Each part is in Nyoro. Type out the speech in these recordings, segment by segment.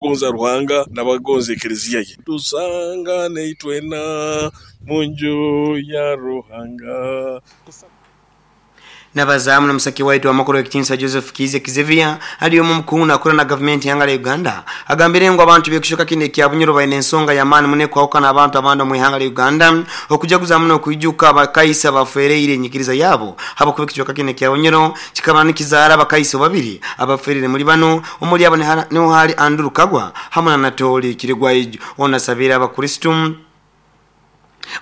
Abagonza Ruhanga n'abagonza ekeleziya ye. Tusangane itwena mu nju ya Ruhanga. Nabazaamu n'omusaki waitu amakuru ekitinisa Joseph Kiiza Xavier ali omu mukungu nakora na gavumenti ihanga lya Uganda agambire ngu abantu b'ekicweka kinu ekya Bunyoro baine ensonga y'amaani muno ekwahukana abantu abandi omu ihanga lya Uganda okujaguza muno okwijuka abakaisa abafeereire enyikiriza yabo habwokuba ekicweka kinu ekya Bunyoro kikaba nikizaara abakaiso babiri abaferire muli bano omuli abo niho hali Andrew Kagwa hamu na Anatoli Kirigwaijo. Ono asabire abakristu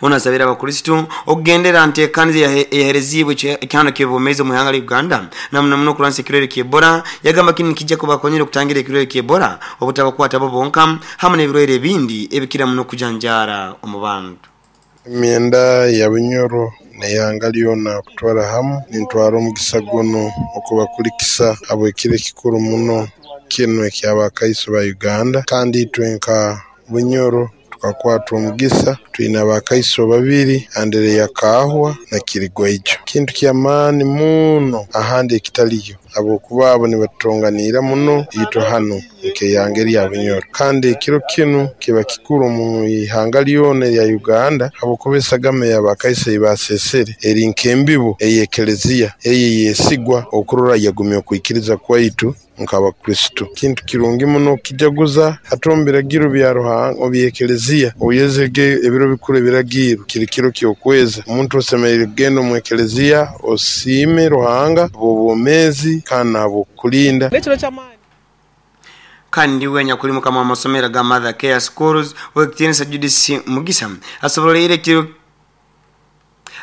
Ono asabire abakristu okugendera ntekaniza eyahereziibwe ekihano ky'obwomeezi omu ihanga lya Uganda na muno muno okurwanisa ekirwaire kya Ebola. Yagamba kinu nikija kubakonyera okutangira ekirwaire kya Ebola obutabakwata bo bonka hamu n'ebirwaire ebindi ebikira muno kujanjaara omu bantu. Emyenda ya Bunyoro n'eihanga lyona okutwara hamu, nintwara omugisa gunu okubakulikisa habw'ekiro ekikuru muno kinu eky'Abakaiso ba Uganda. Kandi itwe nka Bunyoro tukakwatwa omugisa twine Abakaiso babiri, Andereya Kaahwa na Kirigwaijo. Kintu ky'amaani muno ahandi ekitaliyo habwokuba abo nibatutonganiira muno itwe hanu nk'eihanga erya Bunyoro. Kandi ekiro kinu kiba kikuru omu ihanga lyona erya Uganda habwokuba esagama ey'Abakaiso ei baseesere eri nk'embibo ey'Ekelezia eyo eyesigwa okurora yagumya okwikiriza kwaitu nk'Abakristo. Kintu kirungi muno okukijaguza hati omu biragiro bya Ruhanga oby'Ekelezia oyezege ebiro bikuru ebiragiirwe kiri kiro ky'okweza. Omuntu osemeriire kugenda omu Ekelezia osiime Ruhanga habw'obwomeezi kandi n'ahabw'okukulinda. Kandi we anyakuli mukama w'amasomero aga Mother Care Schools ow'ekitiinisa Judith Mugisa asoboleire ekiro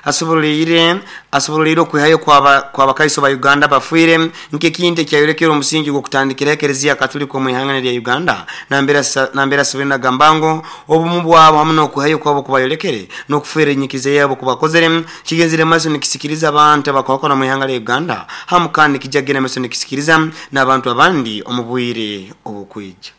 Asoboleire asoboleire okwihayo kw'Abakaiso ba Uganda abafiire nk'ekintu ekyayolekere omusingi gw'okutandikiraho Ekereziya Katulika omu ihanga lya Uganda nambere nambere asoboire nagamba ngu obumu bwabo hamu n'okwihayo kwabo okubayolekere n'okufeera enyikiriza yabo okubakozere kigenzere mumaiso nikisikiriza abantu abakwahukana omu ihanga lya Uganda hamu kandi nikija kugenda mumaiso nikisikiriza n'abantu abandi omu bwire obukwija.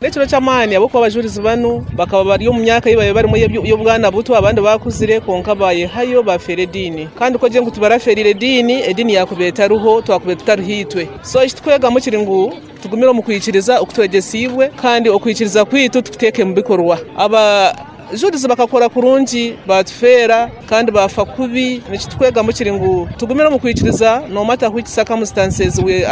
N'ekiro ky'amaani ahabw'okuba abajurizi banu bakaba bari omu myaka ei baabaire barimu ey'obwana buto, abandi baakuzire, kwonka baayehayo baafeera ediini. Kandi ku ogire ngu tibarafeereire ediini, ediini yaakubaire etariho, twakubaire tutariho itwe. So eki turikwegamu kiri ngu tugumire omu kwikiriza oku twegyesiibwe kandi okwikiriza kwaitu tukuteeke omu bikorwa. Abajurizi bakakora kurungi, baatufeera kandi baafa kubi. Eki turikwegamu kiri ngu tugumire omu kwikiriza no matter which circumstances we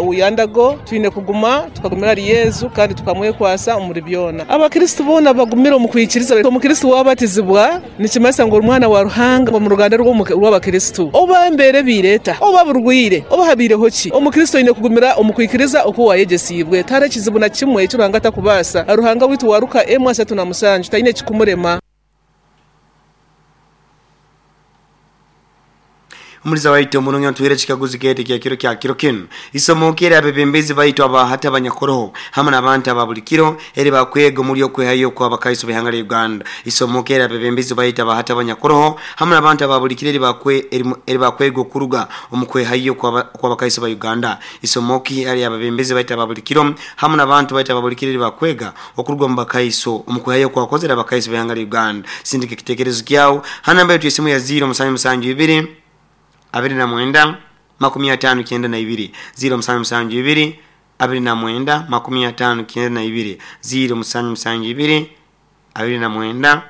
we undergo, twine kuguma tukagumira ahari Yesu kandi tukamwekwasa omuri byona. Abakristo boona bagumire omu kwikiriza. Omukristo waabatizibwa nikimanyisa ngu ori mwana wa Ruhanga omu ruganda rw'Abakristo. Oba embeera ebaire eta, oba burwaire, oba habaireho ki, Omukristo oine kugumira omu kwikiriza oku waayegyesiibwe. Tihariho ekizibu na kimwe eki Ruhanga atakubaasa. Ruhanga waitu wa Luka emwe ashatu na mushanju taine ekikumurema. Omuliza waitu omurungi otuhaire ekikaguzo kyaitu eky'ekiro kya kiro kinu. Isomo ki ery'abebembezi baitu aba hati abanyakoroho hamu n'abantu aba buli kiro eri bakwega omuli okwehayo kw'Abakaiso b'ihanga lya Uganda? Isomo ki ery'abebembezi baitu aba hati abanyakoroho hamu n'abantu aba buli kiro eri bakwega okuruga omu kwehayo kw'Abakaiso ba Uganda? Isomo ki ery'abebembezi baitu aba buli kiro hamu n'abantu baitu aba buli kiro eri bakwega okuruga omu Bakaiso omu kwehayo okwakozere Abakaiso b'ihanga lya Uganda? Sindika ekitekerezo kyawe ha namba yaitu y'esimu ya 0772 29 59 0772 29 59 0772 29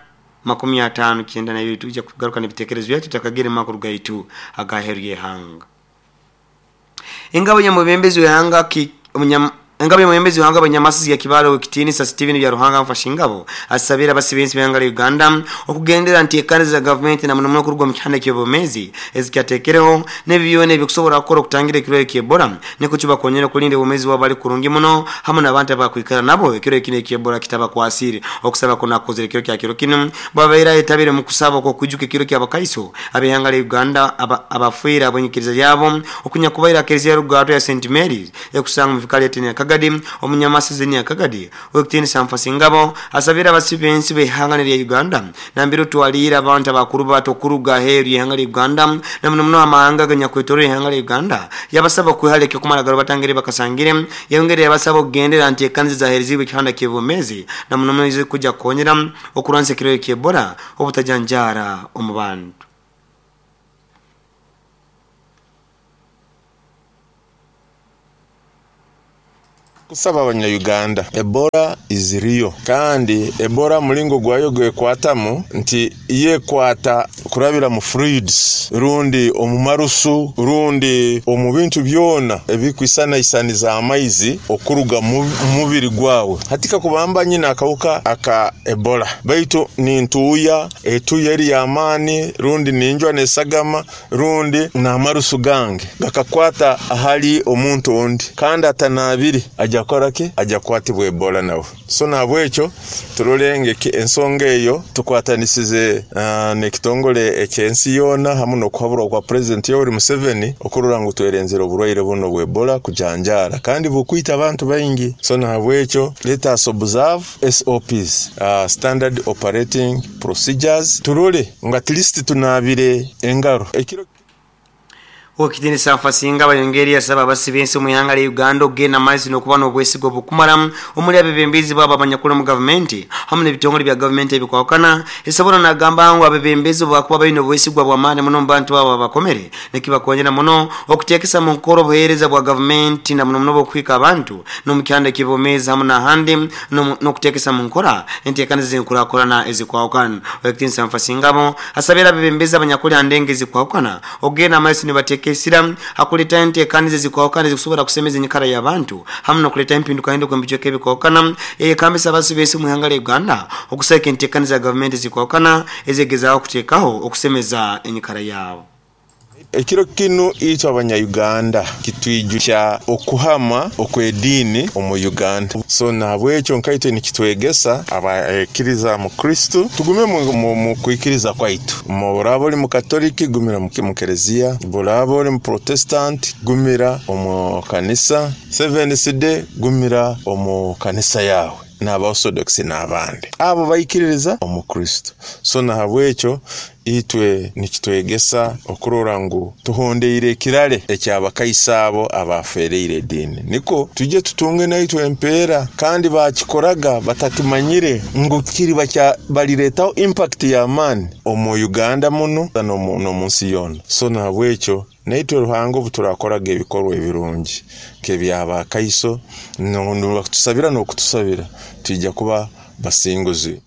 59. Twija kugaruka n'ebitekerezo byaitu tutakagire mu makuru gaitu ag'aheeru y'ihanga. Engabo y'omwebembezi w'ihanga Engabo y'omwebembezi w'ihanga Banyamasizi ya Kibaale Ow'ekitiinisa Steven Byaruhanga Nfashingabo asabire abasibensi b'ihanga lya Uganda okugendera nteekaniza za gavumenti na muno muno kuruga omu kihanda ky'obwomeezi ezikyateekereho n'ebi byona ebikusobora kukora okutangira ekirwaire kya Ebola nikwo kibakonyera okulinda obwomeezi bwabo bali kurungi muno hamu n'abantu abakwikara nabo ekiro kinu ekya Ebola kitabakwasiire. Okusaba kunu akukozere ekiro kya kiro kinu bwabaire ayetabire omu kusaba okw'okwijuka ekiro ky'Abakaiso ab'ihanga lya Uganda abafiire habw'enyikiriza yaabo okunyakubaire aha Kereziya Rugaatwa ya Saint Mary's ekusangwa omu vikari ya Nyakagadi. Omunyamasizi Nyakagadi ow'ekitiinisa Nfasingabo asabire abasibensi b'ihanga lya Uganda nambere otwaliire abantu abakurubata okuruga aheeru y'ihanga lya Uganda na muno muno amahanga aganyakwetoroire ihanga lya Uganda yabasaba okwehara ekyokumara garubata ngeri bakasangire. Yayongera yabasaba okugendera aha nteekaniza ezahereziibwe ekihanda ky'obwomeezi na muno muno ezikuja kukonyera okurwanisa ekirwaire kya Ebola obutajanjaara omu bantu. Kusaba abanya-Uganda, Ebola is real, kandi Ebola mulingo gwayo gwekwatamu nti yekwata kurabira mu fluids rundi omu marusu rundi omu bintu byona ebikwisanaisaniza amaizi okuruga mu mubiri gwawe. Hati kakubamba nyina akawuka aka Ebola, baitu nintuuya etuuya eri y'amaani rundi ninjwa nesagama rundi n'amarusu gange gakakwata ahali omuntu ondi kandi atanaabire, ajja kukora ki? Ajja kukwatibwa Ebola nawe. So nahabwekyo turole ensonga eyo tukwatanisize n'ekitongole eky'ensi yoona hamu n'okuhaburwa kwa President Yoweri Museveni okurora ngu twerenzere oburwaire buno bwa Ebola kujanjaara kandi bukwita abantu baingi. So nahabwekyo let us observe SOPs, Standard Operating Procedures, turole ngu at least tunaabire engaro. Ekiro Owekitinisa Nfasinga bayongeri yasaba abasi b'ensi omu ihanga lya Uganda okugenda maiso n'okuba n'obwesigo obukumara omuli abebembezi baabo abanyakuli omu gavumenti hamu n'ebitongole bya gavumenti ebikwahukana. Esobora nagamba ngu abebembezi obu bakuba baine obwesigwa bw'amaani muno omu bantu abo abakomere nikibakonyera muno okuteekesa mu nkora obuheereza bwa gavumenti na muno muno obw'okuhika abantu n'omu kihanda eky'obwomeezi hamu n'ahandi n'okuteekesa mu nkora enteekaniza ez'enkurakurana ezikwahukana. Owekitinisa Nfasingabo asabire abebembezi abanyakuli ha ndengo ezikwahukana okugenda amaiso nibateeka esira ha kuleetaho enteekaniza ezikwahukana ezikusobora kusemeza enyikara y'abantu hamu n'okuleetaho empindukahinduka omu bicweka ebikwahukana. Yayekambisa abasi b'ensi omu ihanga lya Uganda okusagika enteekaniza za gavumenti ezikwahukana ezegezaaho kuteekaho okusemeza enyikara yaabo. Ekiro kinu itwe abanya-Uganda kitwijukya okuhama okw'ediini omu Uganda. So nahabwekyo nkaitwe nikitwegesa abaikiriza mu Kristo tugume mu kwikiriza kwaitu. Oraaba oli mukatoliki gumira mu kereziya, oraaba oli muprotestant gumira omu kanisa, Seventh Day gumira omu kanisa yaawe, n'aba Orthodox n'abandi abo baikiririza omu Kristo. So nahabwekyo itwe nikitwegesa okurora ngu tuhondeire ekirale eky'abakaisa abo abafereire ediini, niko tujye tutunge naitwe empeera. Kandi bakikoraga batakimanyire ngu kiriba baliretaho impact y'amaani omu Uganda muno n'omu nsi yoona. So nahabwekyo naitwe Ruhanga obu turakoraga ebikorwa ebirungi nk'eby'abakaiso nibakutusabira n'okutusabira, twija kuba basinguzi.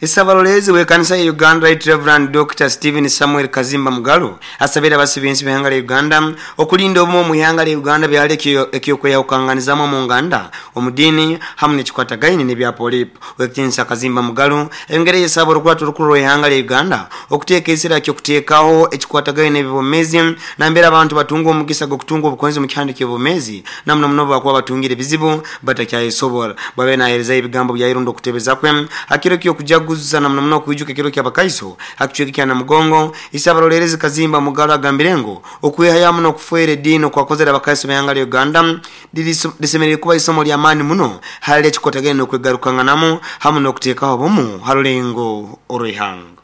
Essabalolezi w'ekanisa ya Uganda Right Rev Dokita Stephen Samuel Kazimba Mugalu asabire abasi b'ensi b'eihanga lya Uganda okulinda obumu omu ihanga lya Uganda byali eky'okweyahukanganizamu omu nganda, omu diini hamu n'ekikwatagaine n'ebya polipo. Owekitinisa Kazimba Mugalu ayongeire yesaba orukurato orukuru rw'eihanga lya Uganda okuteeka esira ky'okuteekaho ekikwatagaine n'eby'obwomeezi nambere abantu batunga omugisa gw'okutunga obukonzi omu kihanda ky'obwomeezi na muno muno obubakuba batungire ebizibu batakyayesobora. Bwabaire naheerezayo ebigambo bya irondo okutebeza kwe ha kiro ky'okujaguza na muno muno okwijuka ekiro ky'Abakaiso ha kicweka kya Namugongo, Isabarolerezi Kazimba Mugalu agambire ngu okwehayo hamu n'okufeera ediini okwakozere Abakaiso b'ihanga lya Uganda lisemeriire kuba isomo ly'amaani muno hali ekikwatagaine n'okwegarukanganamu hamu n'okuteekaho obumu ha rulengo orw'ihanga.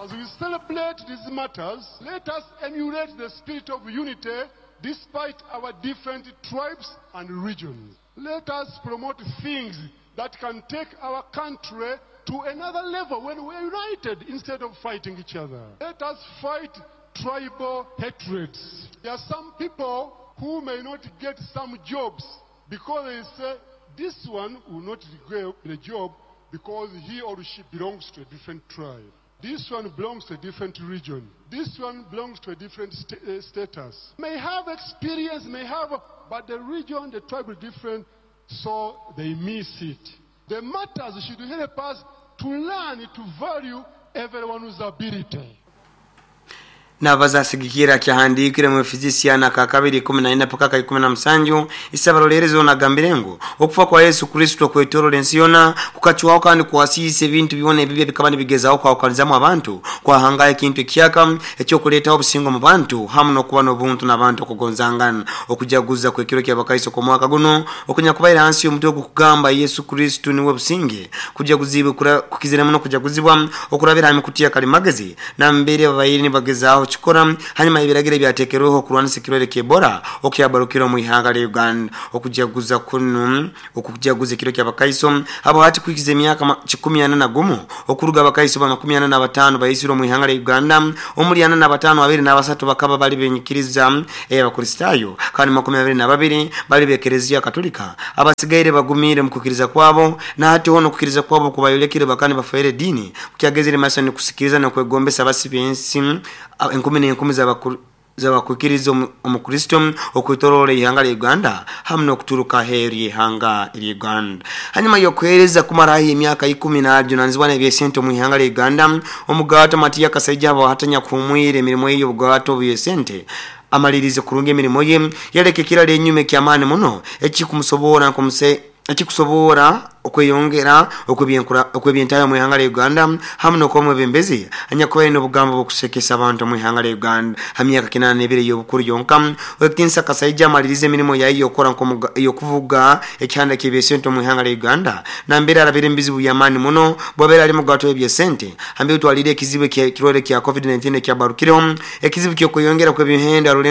As we celebrate these matters, let us emulate the spirit of unity despite our different tribes and regions. Let us promote things that can take our country to another level when we are united instead of fighting each other. Let us fight tribal hatreds. There are some people who may not get some jobs because they say this one will not get the job because he or she belongs to a different tribe. This one belongs to a different region. This one belongs to a different status. May have experience, may have, but the region, the tribe is different, so they miss it. The matters should help us to learn to value everyone's ability. Nabaza asigikira kyahandiikire mu Efisisiana ka kabiri 14 paka ka 17, Isabarolerezi ono agambire ngu okufa kwa Yesu Kristo okwetorola ensi yona kukacwaho kandi kwasiisa ebintu byona ebibi ebikaba nibigezaho kwahukanizamu abantu, kwahangaho ekintu ekihyaka eky'okuleetaho obusinge omu bantu hamu n'okuba n'obuntu n'abantu okugonzangana. Okujaguza kw'ekiro ky'Abakaiso okw'omwaka gunu okunyakubaire hansi y'omutwe ogukugamba Yesu Kristo Niwe Businge kujaguziibwe kukizire muno kujaguzibwa okurabira ha mikutu ya kalimagezi nambere babaire nibagezaaho. kukikora hanyuma y'ebiragiro ebyateekerweho okurwanisa ekirwaire ky'Ebola okyabarukire omu ihanga lya Uganda. Okujaguza kunu okujaguza ekiro ky'abakaiso abo hati kuhikiza emyaka 41 okuruga abakaiso ba 45 baisirwe omu ihanga lya Uganda, omuli 45 23 bakaba bali benyikiriza ey'Abakristaayo kandi 22 bali b'Ekereziya Katolika. Abasigaire bagumiire omu kwikiriza kwabo na hati hoona okwikiriza kwabo kubayolekere bakaba nibafeera ediini kukyagezere maiso nikusikiriza n'okwegombesa abasi b'ensi enkumi n'enkumi z'abakwikiriza omu Kristo okwetoroora ihanga lya Uganda hamu n'okuturuka aheeru y'ihanga lya Uganda. Hanyuma y'okuheereza kumara haihi emyaka 10 naajunanizibwa n'ebyesente omu ihanga lya Uganda, omugato Matiya Kasaija haba hatanyakuhumwire emirimo ye y'obugato bw'esente amalirize kurungi emirimo ye, yaleka ekiraro enyuma eky'amaani muno ekikumusobora ekikusobora okweyongera okw'ebyentaayo omu ihanga lya Uganda hamu n'okuba omwebembezi anyakubaire n'obugambo bw'okusekesa abantu omu ihanga lya Uganda. Ha myaka 82 ey'obukuru yonka, Owekitinisa Kasaija amalirize emirimo yaye ey'okukora ey'okuvuga ekihanda ky'ebyesente omu ihanga lya Uganda nambere arabire omu bizibu by'amaani muno bwabaire ali mugato w'ebyesente hambere otwalire ekizibu eky'ekirwaire kya COVID-19 ekyabarukireho, ekizibu ky'okweyongera kw'ebyomuhendo aha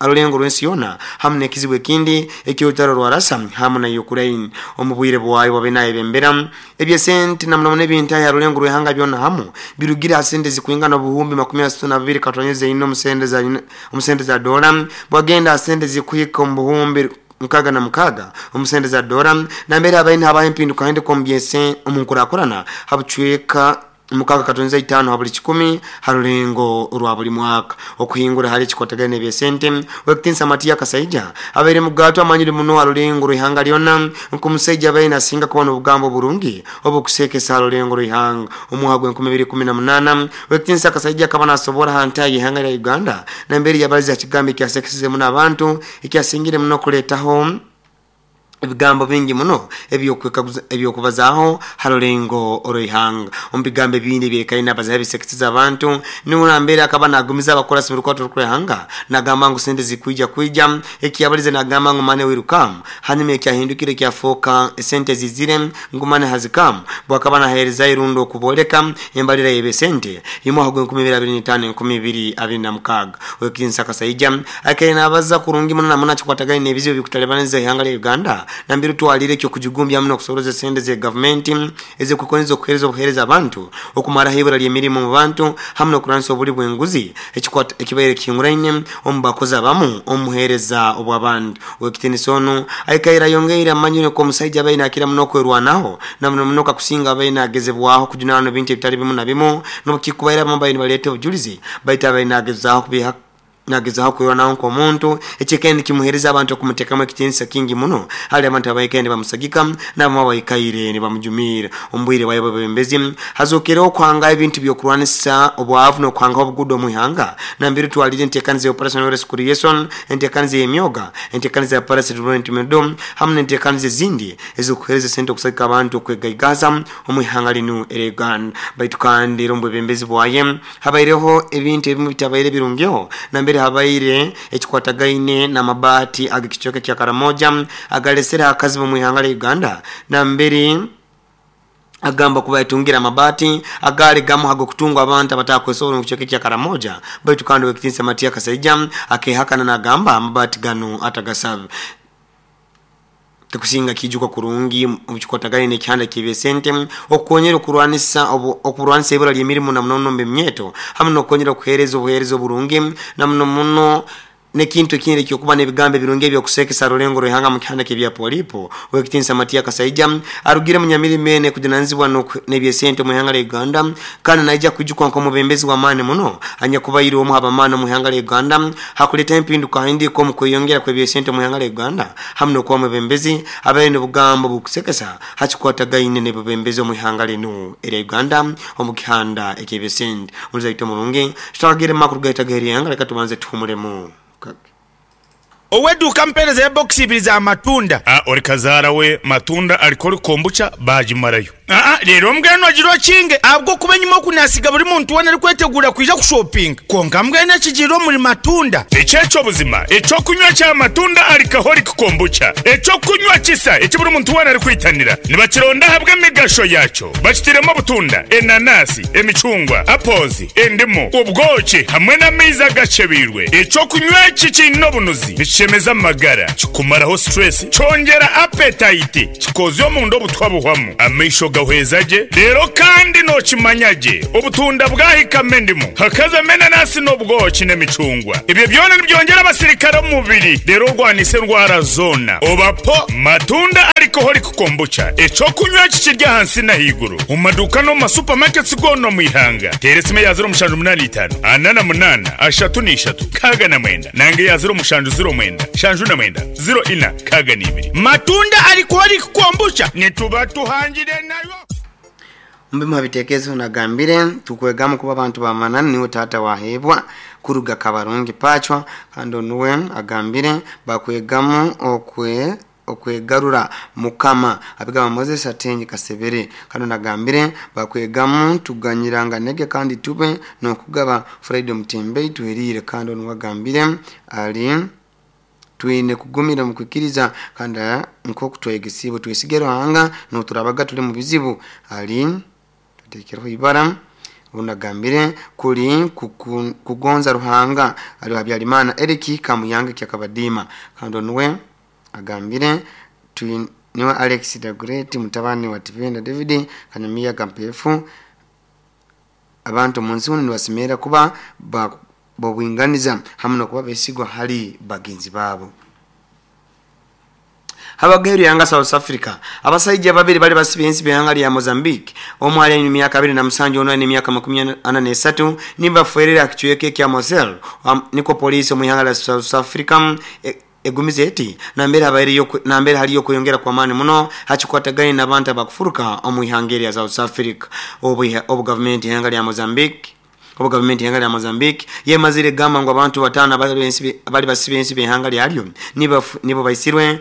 rulengo rw'ensi yoona hamu n'ekizibu ekindi eky'orutaro rwa Russia hamu na Ukraine. Omu bwire bwayo bwabaire nayebembera ebyesente na muno muno ebyentaayo aha rulengo rw'ihanga byona hamu birugire ha sente zikwingana obuhumbi 32.4 omu sente za dola bwagenda ha sente zikuhika omu buhumbi 66 omu sente za dola, nambere habaire habaho empinduka hinduka omu byese omu nkurakurana ha bucweka 6.5 ha buli kikumi ha rulengo rwa buli mwaka. Okuhingura hali ekikwatagana n'ebyesente, Owekitinisa Matiya Kasaija abaire mugato amanyire muno ha rulengo rw'ihanga lyona nk'omusaija abaire nasinga kuba n'obugambo burungi obukusekesa ha rulengo rw'ihanga. Omwaka gwa 2018 Owekitinisa Kasaija akaba nasobora ha ntaha y'ihanga lya Uganda nambere yabalize ha kigambo ekyasekesize muno abantu ekyasingire muno kuleetaho ebigambo bingi muno ebyokubazaaho ha rulengo rw'ihanga. Omu bigambo ebindi ebyekaine abazaho ebisekesize abantu niho nambere akaba nagumiza abakurasi b'orukwato rw'ihanga nagamba ngu sente zikwija kwija, ekiyabalize nagamba ngu money will come, hanyuma ekyahindukire kyafooka esente zizire ngu money has come, bwakaba naheereza irundo okubooleka embalira y'ebyesente y'omwaka gwa 2025 2026. Owekitinisa Kasaija akaire nabaza kurungi muno namuno akikwatagane n'ebizibu ebikutalibaniza ihanga lya Uganda nambere twalire ekyokujugumbya muno okusoroza esente za gavumenti ezikukonyeza okuheereza obuheereza abantu, okumaraho ibura ly'emirimu mu bantu hamu n'okurwanisa obuli bw'enguzi ekibaire kihinguraine omu bakozi abamu omu buheereza obw'abantu. Owekitinisa onu aikaire ayongeire amanyire nk'omusaija abaire nakira muno okwerwanaho na muno muno kakusinga abaire nagezebwaho kujunaanwa ebintu ebitali bimu na bimu n'obukikubaire abamu babaire nibaleeta obujulizi baitu abaire nagezaho kubiha nagezaho kwerwanaho nk'omuntu ekyekaire nikimuheereza abantu okumuteekamu ekitiinisa kingi muno hali abantu abaikaire nibamusagika n'abamu abaikaire nibamujumiira. Omu bwire bwayo bwebembezi hazookereho okuhanga ebintu by'okurwanisa obwavu n'okuhangaho obuguudo omu ihanga nambere twalire enteekaniza ya Operation Wealth Creation, enteekaniza y'emyoga, enteekaniza ya Parish Development Model hamu n'enteekaniza ezindi ez'okuheereza sente okusagika abantu okwegaigaza omu ihanga linu erya Uganda. Baitu kandi era omu bwebembezi bwaye habaireho ebintu ebimu bitabaire birungiho nambere habaire ekikwatagaine n'amabaati ag'ekicweka kya Karamoja agalesere akazibu omu ihanga lya Uganda, nambere agamba kuba yatungire amabaati agaali gamu ag'okutungwa abantu abatakwesobora omu kicweka kya Karamoja, baitu kandi Owekitinisa Matiya Kasaija akehakana nagamba amabaati ganu atagasabe. Tikusinga kijuka kurungi obukikwatagaine n'ekihanda ky'ebyesente okukonyera okurwanisa ibura ly'emirimu na muno muno mu bimyeto hamu n'okukonyera okuheereza obuheereza oburungi na muno muno n'ekintu ekindi ekyokuba n'ebigambo ebirungi ebyokusekesa rulengo rw'ihanga mu kihanda ky'ebyapolipo. Owekitinisa Matiya Kasaija arugire munyamirimo ene kujunanizibwa n'ebyesente omu ihanga lya Uganda kandi naija kwijukwa nk'omubembezi w'amaani muno anyakubaire omu abamaani omu ihanga lya Uganda hakuleeta empinduka hinduka omu kweyongera kw'ebyesente omu ihanga lya Uganda hamu n'okuba omwebembezi abaire n'obugambo bukusekesa hakikwatagaine n'ebubembezi omu ihanga linu erya Uganda omu kihanda eky'ebyesente. Omuzaito omurungi tutagire makuru gaita g'eryanga, leka tubanze tuhumulemu. Ow'eduuka mpeereza ebokisi ibiri za matunda. A Ori kazaara we matunda alikori kombucha baagimarayo. Aa Reero mbwenu ogira okinge ahabw'okuba enyima oku naasiga buri muntu weena arikwetegura kwija kushopinga. Kwonka mbwenu ekigiire omuri matunda. Eki eky'obuzima, eky'okunywa kya matunda alcoholic kombucha, eky'okunywa kisa eki buri muntu weena arikwitanira. Nibakironda ahabw'emigasho yaakyo. Bakitairemu obutunda, enanasi, emicungwa, apples, endimu, obwoki hamwe n'amaizi agakyebeirwe. Eky'okunywa eki kiine obunuzi, nikishemeza amagara, kikumaraho stress, kyongyera appetite, kikozya omunda obutwa buhwamu, amaisho gahweza gye, reero kandi nookimanya gye obutunda bwahikamu endimu, hakazamu enanasi n'obwoki n'emicungwa. Ebyo byona nibyongyera abasirikare omu mubiri reero orwanise endwara zoona. Oba po Matunda Alcoholic Kombucha, eky'okunywa eki kiri ahansi n'ahaiguru omu maduuka n'omu ma supermarkets goona omu ihanga. Teera esimu eya ziro mushanju munaana itaano, ana na munaana, ashatu na ishatu, nkaaga na mwenda nanga eya ziro mushanju ziro mwenda, nshanju na mwenda, ziro ina, nkaaga na ibiri. Matunda Alcoholic Kombucha nituba tuhangire nayo. Omu bimu ha bitekerezo nagambire tukwegamu kuba abantu bamananu niwe taata wahebwa kuruga Kabarungi Pachwa kandi onuwe agambire bakwegamu okwe okwegarura mukama abigamba Moses Atenyi Kasebere kandi nagambire bakwegamu tuganyiranga nege kandi tube nokugaba Friday Mutembei tuherire kandi onuwe agambire ali twine kugumira mu kwikiriza kandi nk'oku twegesibwe twesige Ruhanga n'oturabaga tuli mu bizibu ali tutekereho ibara unagambire kuli kugonza Ruhanga ali Habyarimana Eric Kamuyange kyakabadima kandi onuwe agambire niwe Alex the Great mutabani wa Tipenda David Kanyamiya Kampefu abantu munsi uno nibasimera kuba bobwinganiza hamwe no kuba besigwa hali bagenzi babo. Habageru yanga South Africa abasajja babiri bali basibye ensi byanga lya Mozambique omwe ali emyaka 27 ono ali emyaka 43 nibafuerera kichweke kya Mosel niko polisi mu yanga la South Africa egumize eti nambere haliyo kuyongera kwa maani muno hakikwataganye n'abantu abakufuruka omu ihanga lya South Africa. Obu government yanga lya Mozambique obu government yanga lya Mozambique yemazire gamba ngo abantu batano abali basibye ensi byanga lyalyo nibo baisirwe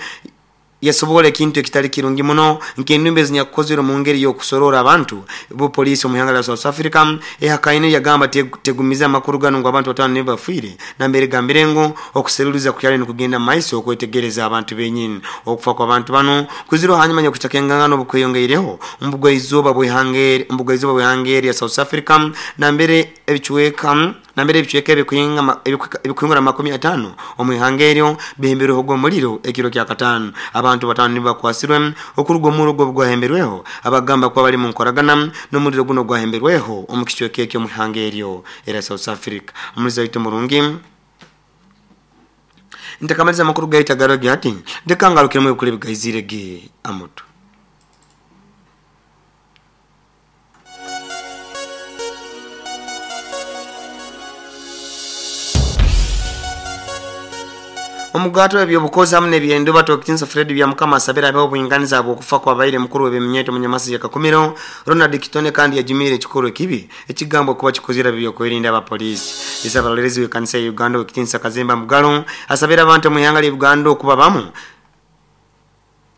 yasobole kintu ekitali kirungi muno nk'endumbe zinyakukozere mu ngeri y'okusorora abantu. Bo polisi mu ihanga lya South Africa ehakaine yagamba tegumiza amakuru gano ngo abantu batano nibo bafiire nambere gambire ngo okuseruliza kukyali nikugenda mu maiso okwetegereza abantu benyini. Okufa kw'abantu bano kuziro hanyuma y'okucakengangano obukweyongeireho mbugwa bw'ihangeri ya South Africa nambere ebichweka ebikuingura 50 omu ihanga eryo bihembereho gw'omuliro ekiro kya katano. Abantu batano nibakwasirwe okuruga omuro gwahemberweho abagamba kuba bali mu nkoragana n'omuliro guno gwahemberweho omu kichweka ekyo mu ihanga eryo era South Africa. Omulizi waitu murungi ntakamaliza amakuru gaita garogi ati ndekangarukiremu ebikuru ebigaizire ge amutu. Omugato ebyobukozi hamwe n'ebyenduba Tokitinsa Fred bya Mukama asabira abeho obwinganiza bw'okufa kwa baire mukuru w'ebyeminyeto munyamasi ya Kakumiro Ronald Kitone kandi yajumire ekikoro ekibi ekigambo kuba kikozera byokwerinda abapolisi. Isabalerezi w'ekanisa ya Uganda Okitinsa Kazemba Mugalo asabira abantu mu ihanga lya Uganda okuba bamu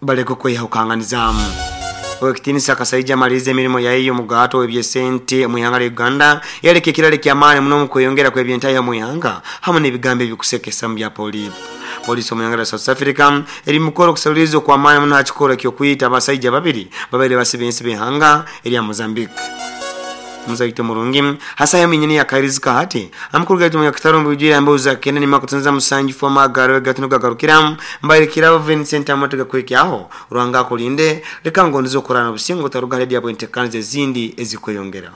baleke kwehukanganizamu. Okitinsa Kasaija malize emirimo yayo mugato ebyesente mu ihanga lya Uganda yaleke kirale kya maani muno mu kweyongera kw'ebyentaya mu ihanga hamwe n'ebigambo ebikusekesa mu bya polisi. Polisi mu ihanga lya South Africa eri mukoro kusalulizo kwa maani muno hakikora kyokuyita abasajja babiri babere basibye ensi b'ihanga erya Mozambique. Muzaito murungi hasa yaminyini ya kairizika hati amukuru gaitu mu yakitaro mbujira mbuza kene ni makutunza musanji fo magaro gatuno gagarukira mbaire kirabo Vincent Amotega kwekyaho Ruhanga kulinde leka ngondizo korana obusingo taruga radio bwentekanze zindi ezikweyongera.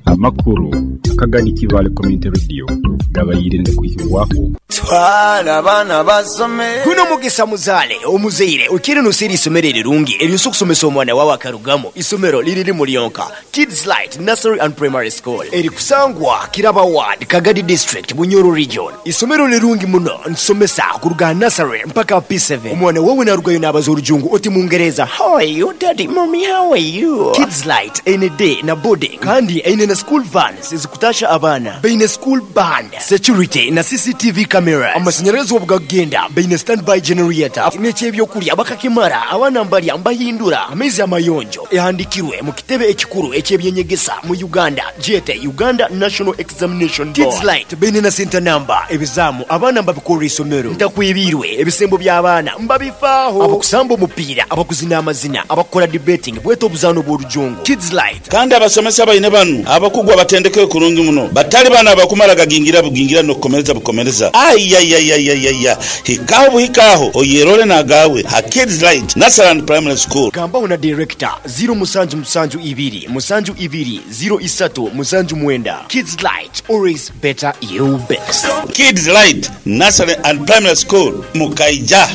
Amakuru akagani Kivale Community Radio gabayirinde kuhirwaho twala abana basome kuno mugisa muzale omuzeire ukiri nusiri isomero rirungi eryo kusomesa omwana wawe akarugamo isomero liriri mulionka Kids Light Nursery and Primary School eri kusangwa Kiraba Ward Kagadi District Bunyoro Region. Isomero lirungi muno nsomesa kuruga nursery mpaka P7. Omwana wawe narugayo n'abaza orujungu oti mungereza how are you daddy mommy how are you. Kids Light ene day na boarding kandi ene na school vans ezikutasha abaana, baine school band, security na CCTV cameras. Amasanyarazi obugakugenda baine standby generator n'ekyebyokulya bakakimara, abaana mbalya mbahindura amaizi amayonjo. Ehandikirwe mu kitebe ekikuru eky'ebyenyegesa mu Uganda gyete Uganda National Examination Board. Kids Light baine na center number, ebizaamu abaana mbabikorra isomero. Ntakwebiirwe, ebisembo by'abaana mbabifaaho. Abakusamba omupiira, abakuzina amazina, abakukora debating bwete obuzaano bw'orujongo. Kids Light. Kandi abasomesa baine banu abakugu abatendekeirwe kurungi muno, batali banu abakumara gagingira bugingira n'okukomereza bukomereza. Aiaiaiaiaia! Hikaho buhika aho oyerole n'agaawe ha Kids Light Nursery and Primary School. Gambaho na Director, ziro musanju musanju ibiri musanju ibiri ziro isatu musanju mwenda. Kids Light, always better you best. Kids Light Nursery and Primary School Mukaija.